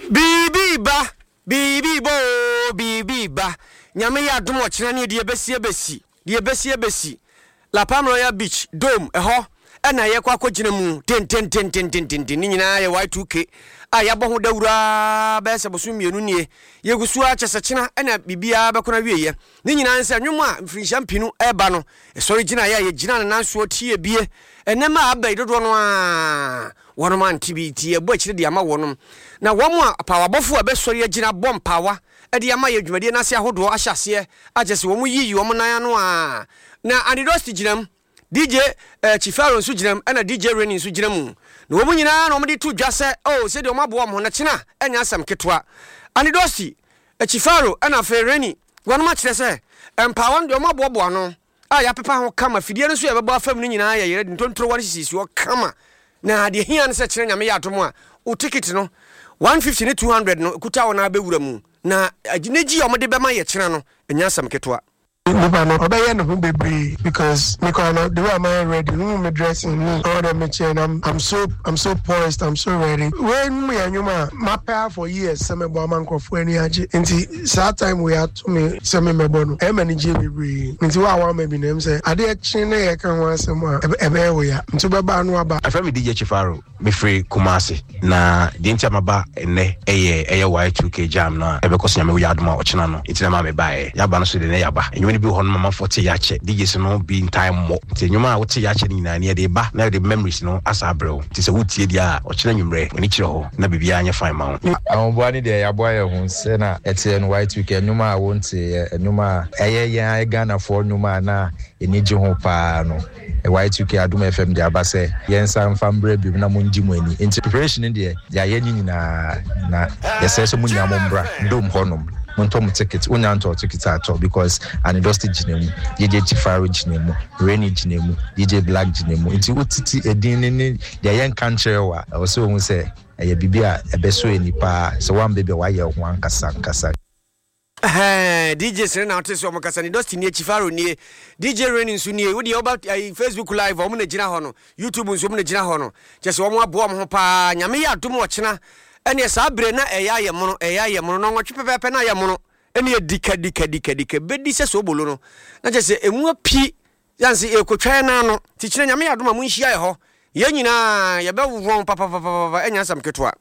Biribi reba, biribi reba oo, biribi reba. Nyame yɛ adom ɔkyena ne deɛ ɛbɛsi ɛbɛsi, deɛ ɛbɛsi ɛbɛsi. La Palm Royal Beach, Dome, ɛhɔ ɛna yɛkɔ akɔgyina mu dendendendendenden. Ne nyinaa yɛ Y two K a yɛabɔ ho dawuro ara bɛyɛ sɛ bosom mmienu nie. Yɛgu so ara kyɛ sɛ kyena ɛna biribiara bɛkɔ n'awieɛ. Ne nyinaa ne sɛ nnwom a mfirinhyia mpenu reba no, ɛsɔre gyinaeɛ a yɛgyina ne nan soɔ tie bie. Ɛnnɛ a aba yi dodoɔ no ara wɔnom ante bi nti yɛbɔ akyire de ama wɔnom. Na wɔn a apaawabɔfoɔ a ɛbɛsɔre agyina abɔ mpaawa de ama yɛn dwumadie no ase ahodoɔ ahyɛ aseɛ a kyerɛ sɛ wɔn yiyi wɔn nan ano a na Andy Dosty gyina mu, D J eh, Chifaro nso gyina mu ɛna D J Rainy nso gyina mu. Na wɔn nyinaa na wɔn de to dwa sɛ oh sɛdeɛ wɔn aboa wɔn ho na kyena ɛnyɛ asɛm ketewa. Andy Dosty, Chifaro ɛna afei Rainy wɔnom akyerɛ sɛ mpaawa no deɛ wɔn aboaboa ano a yɛapepa ho kama, fidie no nso yɛbɛbɔ afam no nyinaa yɛ yɛrɛ de ntontorowa no sisi hɔ kama. Na deɛ hia no sɛ kyerɛ Nyame yɛ adom a wo ticket no one fifty ne two hundred no kuta wo na abɛwura mu na anigye a wɔde bɛma yɛ kyena no ɛnyɛ asɛm ketewa. Nipa no ɔbɛyɛ ne ho bebree because me kora no, the way am I ready no, me dressing me all the me kyerɛ, I'm I'm so I'm so poised, I'm so ready. Wei mu yɛ nnwom a mapɛ for years sɛ mɛbɔ ama nkurɔfoɔ ani agye, nti saa time wei ato me sɛ me mɛbɔ no, ɛyɛ m'ani gye bebree. Nti wo a wama bi na ɛm sɛ adeɛ kye ne yɛka ho asɛm a ɛbɛyɛ wo ya, nti wobɛba no aba. Afrɛ me D J Chifaro, mefiri Kumase, na deɛ nti a maba ɛnnɛ ɛyɛ ɛyɛ Y two K jam no a ɛbɛkɔ so Nyame woyɛ adom a ɔkyena no nti na ma mebaeɛ. Yɛaba no so de ne yɛaba nnwuma no bi wɔ hɔ no mamanfoɔ te yɛakyɛ D Js no bi ntae mmɔ, nti nnwuma a wote yɛakyɛ no nyinaa ne yɛde ba na yɛde memories no asa abrɛ wo. Nti sɛ wotie deɛ a, ɔkyena nwummerɛ w'ani kyerɛ hɔ na biribiara nyɛ fine ma wo. Ahoboa ne deɛ yɛaboa yɛ ho sɛ na ɛteɛ no Y two K nnwom a wonteeɛ, nnwom a ɛyɛ yɛn ayɛ Ghanafoɔ nnwom a na ɛni gye ho paa no, Y two K Adom F M de aba sɛ yɛnsa mfa mbrɛ biom na mongye mo ani. Nti preparation no deɛ yɛayɛ ne nyinaa na yɛsrɛ sɛ mo nyinaa mombra Dome hɔnom, montɔ mo ticket. Wonya ntɔ ticket atɔ because Anidɔsti gyina mu, D J Chifaro gyina mu, Rainy gyina mu, D J Black gyina mu. Nti wotete edin ne ne deɛ yɛnka nkyerɛ wo a, ɛwɔ sɛ wohu sɛ ɛyɛ biribi a ɛbɛsɔ ani paa sɛ woamba bi a woayɛ wo ho ankasa ankasa. D J sere na wote sɛ ɔmo kasa ne Dusty nie, Chifaro nie, D J Rainy nso nie. Wodeɛ woba Facebook live, ɔmo na gyina hɔ no, YouTube nso ɔmo na gyina hɔ no, kyɛ sɛ ɔmo aboa ɔmo ho paa. Nyame yɛ adom ɔkyena ɛneɛ saa berɛ na ɛyɛ ayɛ mono, ɛyɛ ayɛ mono na ɔnwɔtwe pɛpɛɛpɛ na ayɛ mono ɛne dika dika dika dika bɛdi sɛ soobolo no na kyɛ sɛ ɛmu api yanse ɛkɔtwa yɛ nan no. Nti kyerɛ Nyame yɛ adom a monhyia yɛ hɔ. Yɛn nyinaa yɛbɛwɔn papapapapa, ɛnyɛ asɛm ketewa.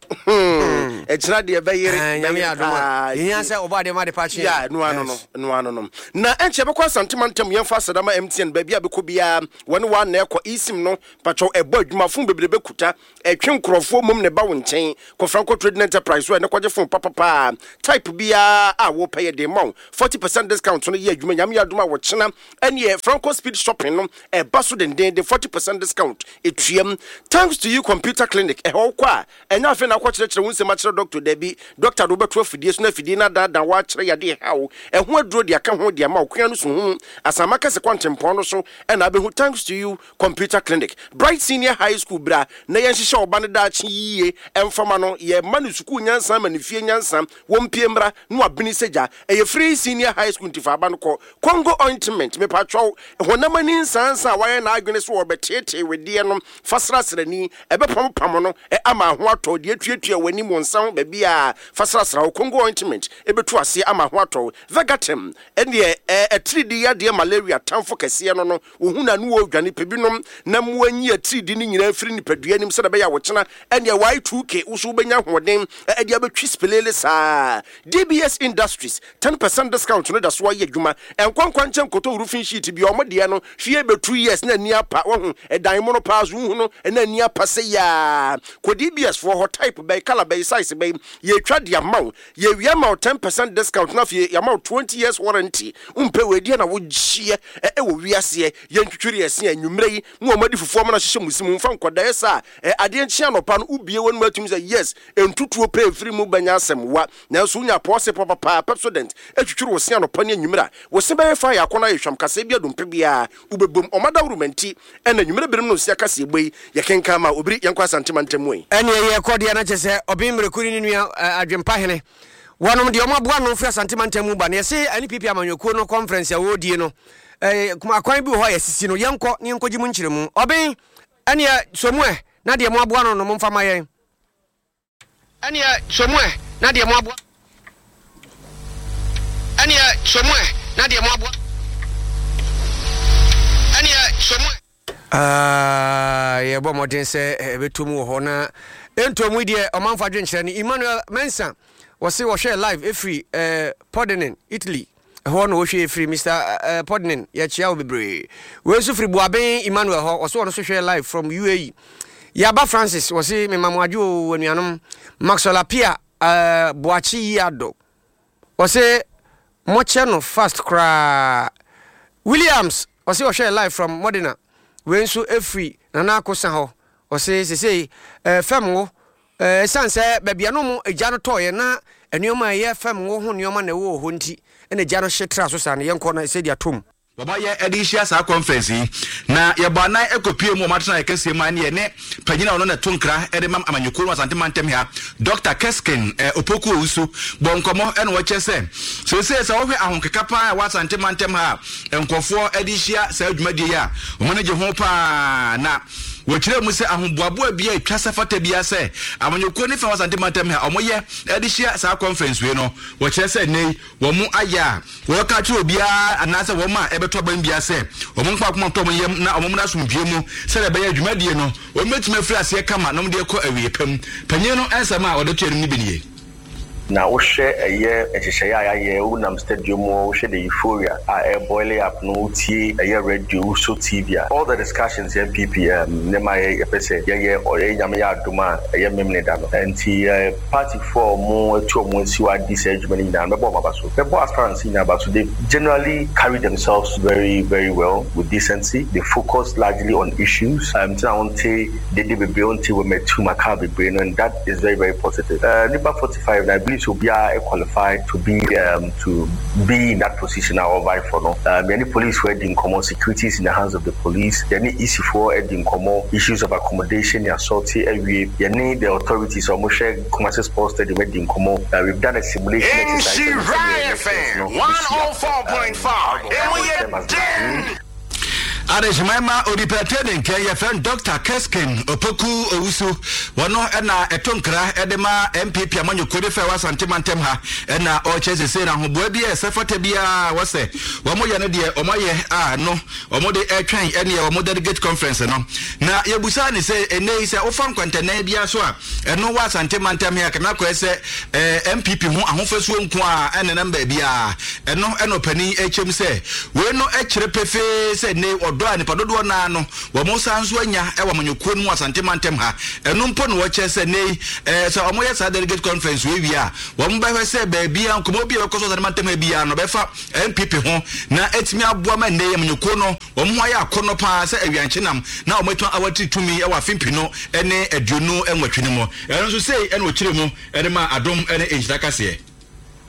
Ɛkyena deɛ bɛyere. Nyame yɛ adom a yɛhia sɛ ɔbɔ adeɛ ma de pa kye. Ya no ano no no ano no na ɛnkyɛ bɛkɔ Asantema ntam. Yɛmfa asɛdama M T N baabi a bɛkɔ biara wɔne wa na ɛkɔ eSIM no patwɔ ɛbɔ adwuma. Phone bebree bɛkuta ɛtwe nkurɔfoɔ mom ne ba wo nkyɛn. Kɔfra nkɔ Trading Enterprise so ɛne kɔgye phone papapaa type biara a wopɛ yɛ de ma wo. forty percent discount no yɛ adwuma. Nyame yɛ adom a wɔkyena ɛneɛ Franco Speed Shopping no ɛba so dendenden, forty percent discount ɛtuam. Thanks to You Computer Clinic, ɛhɔ wokɔ a ɛnyɛ afei na akɔkyerɛkyerɛ wo nsɛm akyerɛ doctor. Dabi, doctor de wobɛto afidie so na afidie no adaadaa woakyerɛ yadeɛ haw ɛho aduro de aka ho de ama wo kua no so hu asama kɛse kwantempɔn no so. Ɛna abɛhu Thanks to You Computer Clinic. Bright Senior High School, bra na yɛnhyehyɛ ɔba no daakye yie. Ɛmfama no yɛma no sukuu nyansa ma ne fie nyansa wɔmpie mmra na wabene sɛ gya. Ɛyɛ free senior high school nti fa aba no kɔ. Congo ointment, mepatwɛw, honam ani nsansa a wayɛ n'adwene so wɔbɛteetee wedeɛ no fa srasrani ɛbɛpampam no ɛ ama ho atɔ deɛ tuatua w'anim wɔ nsa ho baabi a fa srasra wo. Congo ointment ɛbɛtu aseɛ ama ho atɔ. Vegatem ɛneɛ ɛ ɛtiridi yadeɛ, malaria tamfo kɛseɛ no no wohu na no wɔ dwane pɛ binom na mmoa nyi atiridi no nyinaa firi nipadua anim sɛdeɛ ɛbɛyɛ a wɔkyena ɛneɛ Y two K wo so wobɛnya ahoɔden ɛde abɛtwi spelele saa. D B S Industries ten percent discount no da so ayɛ adwuma. Ɛnkwankwa nkyɛn nkɔtɔ roofing sheet bi ɔmo deɛ no hwie bɛ two years na ani apa. Wahu ɛdan mu no paa so wohu no ɛna ani apa sɛ yaa. Kɔ D B S foɔ hɔ, type bɛyi, colour bɛyi, size bɛyi, yɛtwa de ama wo. Yɛwia ma wo ten percent discount na afei yɛama wo twenty years warranty. Wompɛ wɔ na wogyeɛ ɛwɔ wiaseɛ. Yɛntwitwiri ɛse anwummerɛ yi mu ɔmo adi fufuo ama no ahyehyɛ mu si mu mfa nkɔdaeɛ saa ɛ adeɛ nkye anɔpa no wobie wɔ no mu atumi sɛ yes, ntutuo pɛ efiri mu bɛnya asɛm wa. Nanso wonya pɔɔse papapaa Pepsodent atwitwiri wo se anɔpa ne anwummerɛ a wo se bɛyɛ fa yɛ akɔnɔ ayɛ hwam kaseɛ bi adompe biara wobɛbom ɔma dawuruma nti ɛna anwummerɛ binom no nsia kaseɛ bɔ yi yɛkenkan ma obiri. Yɛnkɔ Asantema ntam yi. Ɛneɛ yɛkɔ deɛ no kyɛ sɛ ɔben mmerɛku ne ne nua adwempa hene wɔnom deɛ ɔmo aboa no firi Asantema ntam mu ba na yɛse N P P amanyɔkuo no conference a wɔredie no, akwan bi wɔ hɔ a yɛsisi no. Yɛnkɔ ne yɛnkɔgye mu nkyerɛmu. Ɔben ɛneɛ somu ɛ na deɛ mo aboa no no momfa ma yɛn. Ɛneɛ somu ɛ na deɛ mo aboa ɛneɛ somu ɛ na deɛ mo aboa ɛneɛ somu ɛ. Yɛbɔ mmɔden sɛ ɛbɛtɔ mu wɔ hɔ na ɛntɔ mu deɛ ɔmanfo adwenkyerɛ no. Emmanuel Mensa wɔse wɔhwɛ live ɛfiri eh, Podenen, Italy ɛhɔ na wɔhwɛ ɛfiri. Mister uh, Podenen, yɛkyia wo bebree. Wei nso firi Boaben Emmanuel hɔ, wɔse wɔno nso hwɛ live from U A E. Yaba Francis wɔse mema mo adwo o anuanom. Maxwell Apia uh, Boakye yi ado wɔse mokyɛ no fast koraa. Williams wɔse wɔhwɛ live from Modena. Wei nso ɛfiri Nana Akosa hɔ, wɔse sesei uh, fam wo ɛsiane sɛ baabi a no mu agya no tɔɔyɛ na nneɛma a ɛyɛ fam wo ho nneɛma na ɛwɔ hɔ nti ɛna agya no hye tra so saa no. Yɛnkɔ no sɛdeɛ atom. Wɔmayɛ de rehyia saa conference yi, na yɛbɔ anan kɔpue mu wɔ wɔn atenaeɛ kɛseɛ mu a ɛne yɛne panyin a ɔno na ɛto nkra de ma amanyɔkuo no Asante mantam ha, Doctor Kesken eh, Opoku Owusu bɔ nkɔmmɔ ɛna wɔkyerɛ sɛ seesei sɛ wɔhwɛ ahonkeka paa a ɛwɔ Asante mantam ha a nkurɔfoɔ de rehyia saa dwumadie yi a wɔn ani gye ho paa, na wɔkyerɛ mu sɛ ahoboaboa bi a ɛtwa sɛ fata biara sɛ amanyɔkuo ne fa wɔ Asante mantam ha wɔyɛ de hyia saa conference wei no, wɔkyerɛ sɛ nnɛ yi wɔn ayɛ a wɔka kyerɛ obiara anaasɛ wɔn a ɛbɛtɔ aban biara sɛ wɔn nkɔ akoma tɔ wɔn yam na wɔn mmra asomdwie mu sɛdeɛ ɛbɛyɛ dwumadie no wɔn bɛtumi afiri aseɛ kama na wɔn de akɔ awie pam. Panyin no nsɛm a ɔde to anim no bi nie. Na wohwɛ ɛyɛ nhyehyɛeɛ a yɛayɛ, wonam stadium mu, wohwɛ the euphoria a ɛyɛ boiling up no, wotie ɛyɛ radio, wosɔ T V a, all the discussions N P P um, nneɛma a yɛpɛ sɛ yɛyɛ ɔyɛ Nyame yɛ adom a ɛyɛ memene da no nti uh, partyfoɔ a ɔmo atu ɔmo asi hɔ adi saa adwuma no nyinaa no, mɛbɔ ɔmo aba so, mɛbɔ aspirants nyinaa aba so. They generally carry themselves very very well with decency. They focus largely on issues um, nti na wonte dede bebree, wonte wɔ matu maka bebree no, and that is very very positive. uh, nipa forty-five na I believe sɛ obiara qualify to be um, to be in that position a ɔvie for no. um, yɛne police foɔ adi nkɔmmɔ, security is in the hands of the police. Yɛne E C foɔ adi nkɔmmɔ, issues of accommodation ne assault awie. Yɛne the authorities a wɔhwɛ Kumasi Sports Stadium adi nkɔmmɔ. uh, we've done a simulation exercise. Nhyira F M one oh four point five. Emu yɛ den. Adehyeman ma onipa tie ne nkɛn yɛfrɛ no Doctor Keskin Opoku Owusu. Wɔno ɛna ɛto nkra ɛde ma N P P amanyɔkuo de fɛ wɔ Asante mantam ha, ɛna ɔkyerɛ sese na ahoboa bi a ɛsɛ fata biara wɔsɛ wɔn yɛ no deɛ wɔn ayɛ a no wɔn de ɛtwɛn ɛne wɔn delegate conference no. Na yɛbusa ne sɛ ɛnɛ yi sɛ wofa nkwantɛnɛn biara so a ɛno wɔ Asante mantam ha kama akɔyɛ sɛ ɛɛ N P P ho ahofasuo nko a ɛnenam baabi a ɛno, ɛna ɔpanin ɛkyɛm sɛ wei no ɛkyerɛ pefee sɛ ne ɔdɔ a nipa dodoɔ naa no wɔn san nso anya ɛwɔ amanyɔkuo no mu Asante mantam ha. Ɛno mpo na wɔkyerɛ sɛ ne ɛɛ sɛ wɔn yɛ saa delegate conference wei wie a, wɔn bɛhwɛ sɛ baabi a nkɔmɔ bi a ɛbɛkɔ so Asante mantam ha biara no bɛfa N P P ho na ɛtumi aboa ma nnɛ amanyɔkuo no wɔn ho ayɛ akɔnɔ paa sɛ awiankyenam na wɔn atumi awatiri tumi ɛwɔ afe mpinu ɛne aduonu nwɔtwe no mu. Ɛno nso sei ɛna ɔkyerɛ mu ɛde ma Adom ɛne Nhyira kaseɛ.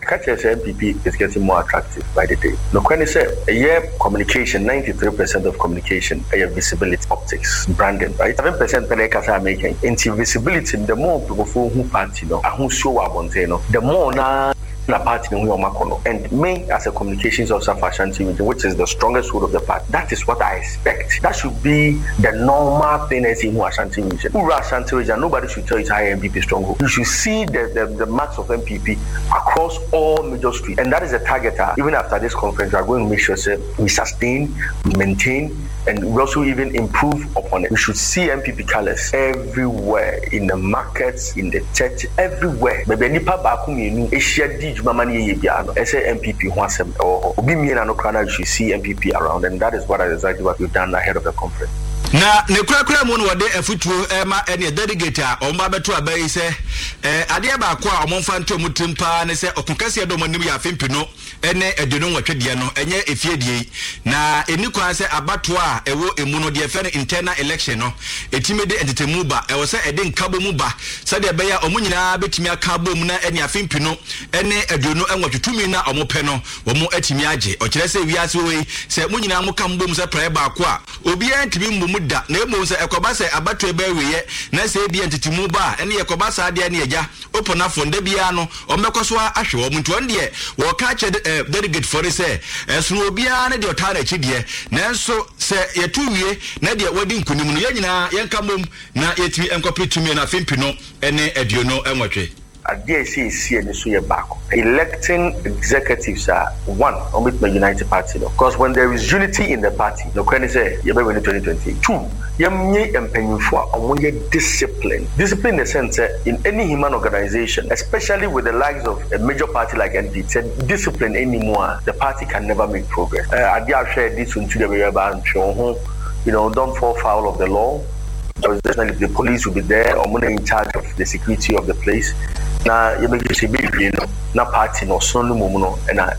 Ka kyerɛ sɛ N P P is getting more attractive by the day. Nokorɛ ne sɛ ɛyɛ communication, ninety-three percent of communication ɛyɛ visibility, optics, branding, right? seven percent pɛ na ɛkasa American. Nti visibility, the more nkurɔfoɔ hu party no ahosuo wɔ abɔnten no, the more na na party no ho yɛ ɔmo akɔ. And me as a communications officer for Ashanti Region, which is the strongest hold of the party, that is what I expect. That should be the normal thing as in Ashanti Region. Wura Ashanti Region, nobody should tell you how N P P stronghold. You should see the, the, the marks of N P P across all major streets. And that is the target. Uh, even after this conference, we are going to make sure say, we sustain, we maintain, and we also even improve upon it. We should see N P P colors everywhere, in the markets, in the church, everywhere. Baabi nipa baako mmienu ahyia di dwuma ma no yɛyɛ biara no, ɛsɛ N P P ho asɛm ɛwɔ hɔ. Obi mmienu ano koraa na you should see N P P around, and that is what exactly what we've done ahead of the conference. Na ne kurakura mu no wɔde afutuo ɛma ɛne delegate a wɔn ba bɛto aba yi sɛ ɛɛ adeɛ baako a wɔn mfa nto wɔn tirim paa ne sɛ ɔko kɛseɛ dɔm anim yɛ afe mpinu ɛne aduonu nwɔtwe deɛ no, ɛnyɛ efie deɛ yi, na ɛni kwan sɛ abatoɔ a ɛwɔ emu no deɛ fɛ no internal election no ɛtumi de ntetemu ba. Ɛwɔ sɛ ɛde nkabɔ mu ba sɛdeɛ ɛbɛyɛ a wɔn nyinaa bɛtumi aka abom na ɛne afe mpinu ɛne aduonu nwɔtwe tumi na wɔn pɛ no wɔn atumi agye. Ɔkyerɛ sɛ wiase wɔ yi, sɛ mo nyinaa mo ka mo bom sɛ praeɛ baako a, obiara ntumi mbɔ mu da, na mmom sɛ ɛkɔba sɛ abatoɔ bɛɛ wieɛ na sɛ ebi ntetemu ba a, ɛne yɛkɔba saa deɛ ne yɛgya oponafo nda biara no ɔmbɛkɔ so ahwɛ wɔn. Nti wɔn deɛ wɔka kyerɛ ɛɛ delegate foɔ no sɛ ɛsono obiara ne deɛ ɔtaa n'akyi deɛ, nanso sɛ yɛto wie na deɛ wɔdi nkunim no, yɛn nyinaa yɛnka mbom na yɛtumi nkɔpere tumi no afe mpinu ne aduonu nwɔtwe. Adeɛ a ɛsɛ esi ani so yɛ baako: electing executives a one wɔn unite party no, because when there is unity in the party, nokorɛ ne sɛ yɛbɛwin no twenty twenty-two. Yɛnye mpanyinfoɔ a wɔn yɛ discipline. Discipline in the sense sɛ in any human organization, especially with the likes of a major party like N P P, sɛ discipline ɛni mu a, the party can never make progress. Ɛɛ adeɛ ahwɛ ɛdi so ntu deɛ bɛyɛ ba ntwe wɔn ho, you know don't fall foul of the law. Definitely the police will be there, wɔn na in charge of the security of the place, na yɛbɛgye sɛ yɛbɛwie no na party no ɔsono no mu no ɛna.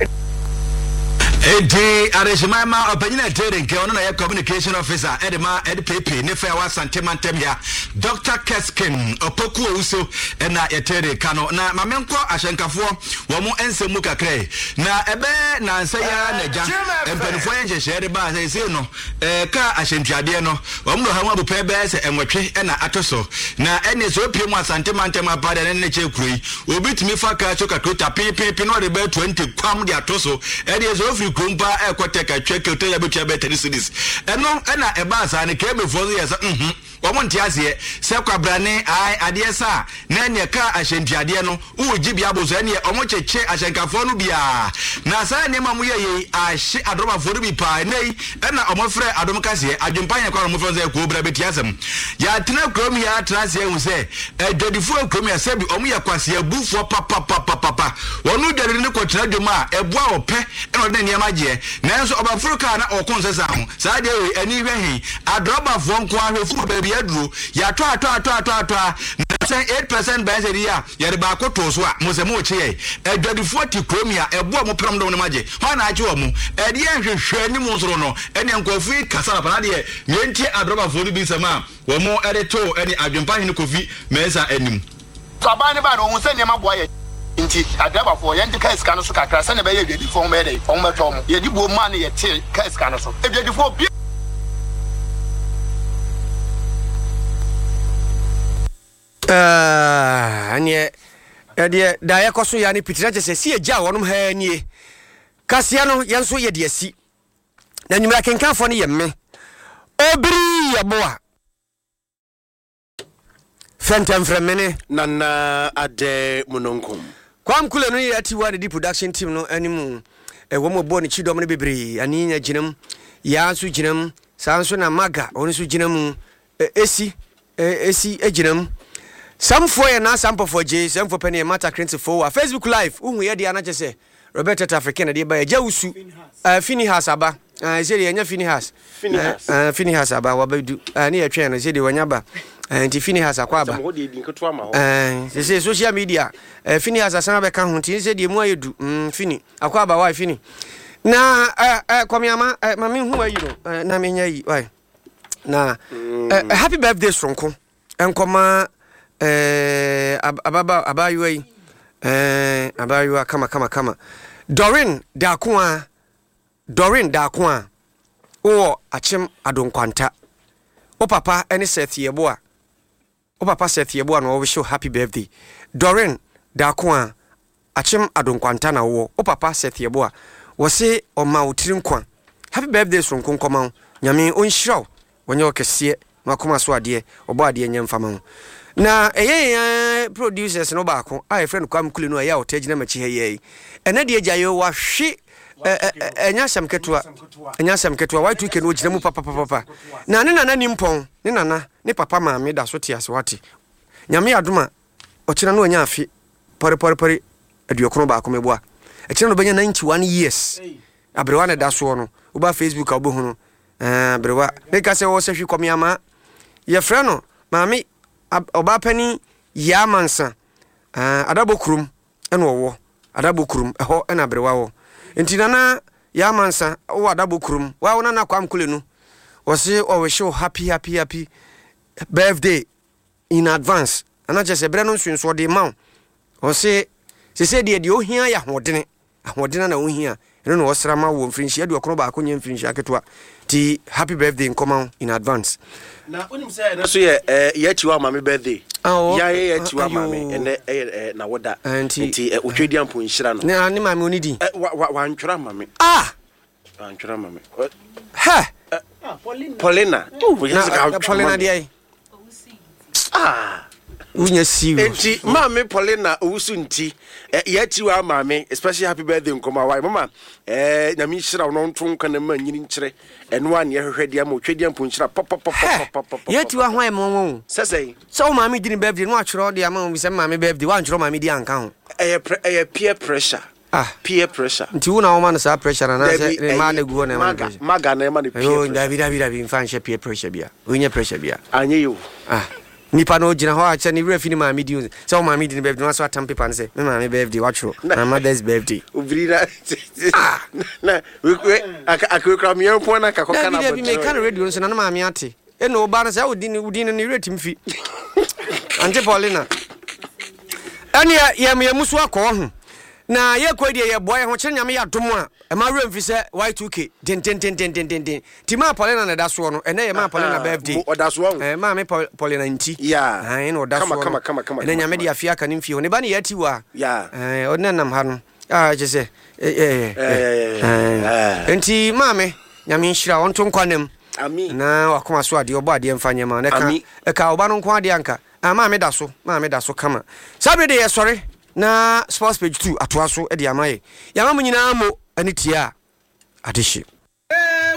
Enti adehyeman ma ɔpanyin a ɛtere nkɛ ɔno na yɛ communication officer ɛde ma ɛde pepe ne fɛ a wasante mantam ya, Doctor Keskin Opoku Owusu, ɛna yɛtere ka no. Na maame nkɔ ahyɛnkafoɔ wɔn mo nsɛm mu kakra yi, na ɛbɛyɛ nansa yi ara na agya mpanimfoɔ yɛ nhyehyɛeɛ de baa sɛ ɛsei no ɛɛ kaa ahyɛntuadeɛ no wɔn de ɔha mu abupɛ bɛyɛ sɛ nwɔtwe ɛna ato so, na ɛne sɛ opie mu Asante mantam apa deɛ ne ne kyɛ kuro yi obi tumi fa kaa so kakrota peepeepe na ɔde bɛyɛ twenty kwam de ato so. Ɛdeɛ sɛ ofiri kurom paa ɛkɔ tɛ katwa kɛtɛ yɛ bɛtua bɛyɛ thirty cedis. Ɛno ɛna ɛbaa saa ne kɛmɛfoɔ nso yɛ sɛ nhun wɔn nte aseɛ sɛ kwabrane ae adeɛ sa na ɛneɛ kaa ahyɛntuadeɛ no wowɔ gye bi abo so, ɛneɛ ɔmo kyekye ahyɛnkafoɔ no biara, na saa nneɛma mo yɛ yei ahye adɔmafoɔ no bi paa. Ɛnɛ yi ɛna ɔmo frɛ Adom kaseɛ adwempa yɛn kwan ɔmo frɛ sɛ kuo bra bɛti asɛm. Yɛatena kurom yi atena aseɛ ahu sɛ adwadifoɔ kurom yɛ sɛbi ɔmo yɛ kwaseabufoɔ papapapapa. Wɔn dwadini no kɔtena dwom a ɛboa ɔpɛ ɛna ɔde ne nneɛma gyeɛ, nanso ɔbɛforo kaa na ɔko nsɛsa ho saa deɛ wei ani hwɛ he adrɔbafoɔ nko ahwɛ furu baabi aduro yɛatɔ atɔ atɔ atɔ atɔ a na sɛn eight percent bɛn sɛ deɛ a yɛde baako too so a mo sɛ mo kye yɛ. Adwadifoɔ te kurom yi a ɛboa mo pɛrɛm dɔm no ma gye hɔ na agye wɔ mo ɛdeɛ nhwehwɛ anim soro no ɛne nkurɔfoɔ yi kasa papa na deɛ yɛntie adrɔbafoɔ no bi nsɛm a wɔn ɛde to ɛne adwempa hene Kofi Mɛnsa anim. So aban ne ba no ohun sɛ nneɛma boa yɛ, nti adrabafoɔ yɛnte kaa sika no so kakra sɛnea ɛbɛyɛ adwadifoɔ ho bɛyɛ dɛ ɔmo bɛtɔ ɔmo. Yɛde buo maa no, yɛte kaa sika no so adwadifoɔ bi. Ɛneɛ ɛdeɛ da yɛkɔ so yɛ ne piti na kyɛ sɛ si agya a wɔnom ha nie kaseɛ no yɛn nso yɛde asi na nwumera kenkanfoɔ no yɛ me. Obiri Yeboah. Fɛntɛmfrɛmene. Nana Ade Mununkum. Kwam Kule no yɛ atiwa ne di production team no anim. Ɛwɔ mu bɔ ne kyidɔm no bebree. Ani nya gyinam. Yaa nso gyinam. Saa nso na Maga ɔno nso gyina mu. Esi esi gyinam. Samfoɔ yɛ na sampɔfoɔ gye samfoɔ pɛ ne yɛ Mata Krentefo wa Facebook live. Wohu yɛ deɛ anakyɛ sɛ Robert Tata African na deɛ ba yɛ gya wusu. Uh, Finihas aba. Uh, sɛ deɛ ɛnyɛ Finihas. Finihas. Uh, Finihas aba wabɛdu. Uh, ne yɛtwɛn no sɛ deɛ wanya ba. Uh, nti Finihas akɔ aba. Uh, sɛ sɛ social media uh, Finihas asan abɛka ho nti sɛ deɛ mu ayɛ du. Mm, Fini akɔ aba wa Fini. Na uh, uh, kɔmiama uh, ma me hu ayi no uh, na menya yi wai. Na mm. uh, happy birthday soronko. Nkɔma uh, ababa abayewa yi. Uh, abayewa kama kama kama. Doreen Dakoa Doreen Dakoa wowɔ Akyem Adonkwanta. Wo papa ne Seth Yeboah. Wo papa Seth Yeboah na wɔwish happy birthday. Doreen Dakoa Akyem Adonkwanta na wowɔ. Wo papa Seth Yeboah wɔse ɔma wo tiri nkwa. Happy birthday soronko nkɔma wo. Nyame ɔnhyira wo. Wɔnyɛ wo kɛseɛ na wakoma so adeɛ ɔbɔ adeɛ nyɛ mfama ho. Na ɛyɛ yɛn producers no baako a yɛfrɛ no Kwame Kule no a ɛyɛ a ɔtaa gyina m'akyi ha yi. Ɛnɛ deɛ gya yɛ wahwe ɛnyɛ asɛm ketewa. Ɛnyɛ asɛm ketewa. Y two K no ogyina mu papapapa. Na ne nana nimpɔn, ne nana, ne papa maame da so te ase wate. Nyame adom a ɔkyena no anya afe pɔre pɔre pɔre aduokron baako meboa. Ɛkyena no bɛnya ninety-one years. Aberewa ne da soɔ no. Woba Facebook a wobɛhu no. Aberewa. Meka sɛ wɔ sɛ hwi kɔmeama. Yɛfrɛ no maame ɔbaa panin Yaa Mansa. Adabɔ kurom ɛna ɔwɔ. Adabɔ kurom ɛhɔ ɛna aberewa wɔ. Nti nana Yaa Mansa wɔ adabɔ kurom. Wa wo nana Kwame Kule no. Wɔse ɔwish wo happy happy happy birthday in advance. Ana kyerɛ sɛ berɛ no nso nso ɔde ma wo. Wɔse sese deɛ deɛ ohia yɛ ahoɔdene. Ahoɔdene na ohia. Ɛno na wɔsra ma wo mfirinhyia aduokron baako nyɛ mfirinhyia ketewa. Ti happy birthday nkɔma wo in advance. Na wonim sɛ ɛno so yɛ yɛ akyiwa maame birthday. Ya yɛ akyiwa maame ɛnɛ ɛyɛ na woda. Nti otwe di ampo nhyira no. Ne ne maame oni din. Wa wa wantwera maame. Ah. Wantwera maame. Ha. Paulina. Na Paulina deɛ. Ah. Unya serious. Enti maame Paulina owusu nti yɛ akyiwa maame especially happy birthday nkɔma wa mama eh nyame nhyira wo no nto nka na ma nyini nkyere eno a ne hwehwɛ dia ma otwe dia mpo nhyira pop pop pop pop pop. Yɛ akyiwa ho ayɛ mo wo. Sɛsɛn. Sɛ wo maame di ne birthday no atwerɛ de ama wo sɛ maame birthday wa ntwerɛ maame di anka ho. Ɛyɛ ɛyɛ peer pressure. Ah, peer pressure. Nti wo na wo ma no saa pressure na na sɛ ne ma na gu hɔ na ma pressure. Maga na ma no peer pressure. Dabi dabi dabi mfa nhyɛ peer pressure bia. Wo pressure bia. Anye yo. Ah. Nipa no gyina hɔ a kyɛ ne werɛ fi ne maame di sɛ wo maame di ne birthday no so atam paper no sɛ me maame birthday watwerɛ my mother's birthday. Obiri na ah na we we akakra me yɛn na akakɔ kana dabi dabi me ka no radio nso na ne maame ate e no ba no sɛ wo di ne wo di no ne werɛ tim fi. Auntie Paulina ɛne yɛ yɛ musu akɔ ho na yɛ kɔ deɛ yɛ boy ho kyerɛ nyame yɛ adom a e ma werɛ mfi sɛ Y two K den den den den den den ti ma Paulina na da soɔ no ɛnɛ yɛ ma Paulina birthday ɔda soɔ eh ma me Paulina nti yeah eh na ɔda soɔ kama kama kama ɛnɛ nyame de afia ka ne mfie ho ne ba ne yɛ ati wa yeah eh ɔne nam ha no ah kyɛ sɛ eh eh nti ma me nyame nhyira ɔnto nkwa ami na wakoma so ade ɔbɔ ade mfa nyema na ka ka ɔba no nko ade anka ah ma me da so ma me da so kama sabre de yɛ sɔre na sports page two atoa so de amaye yama mu nyina mo ani tie a adehye.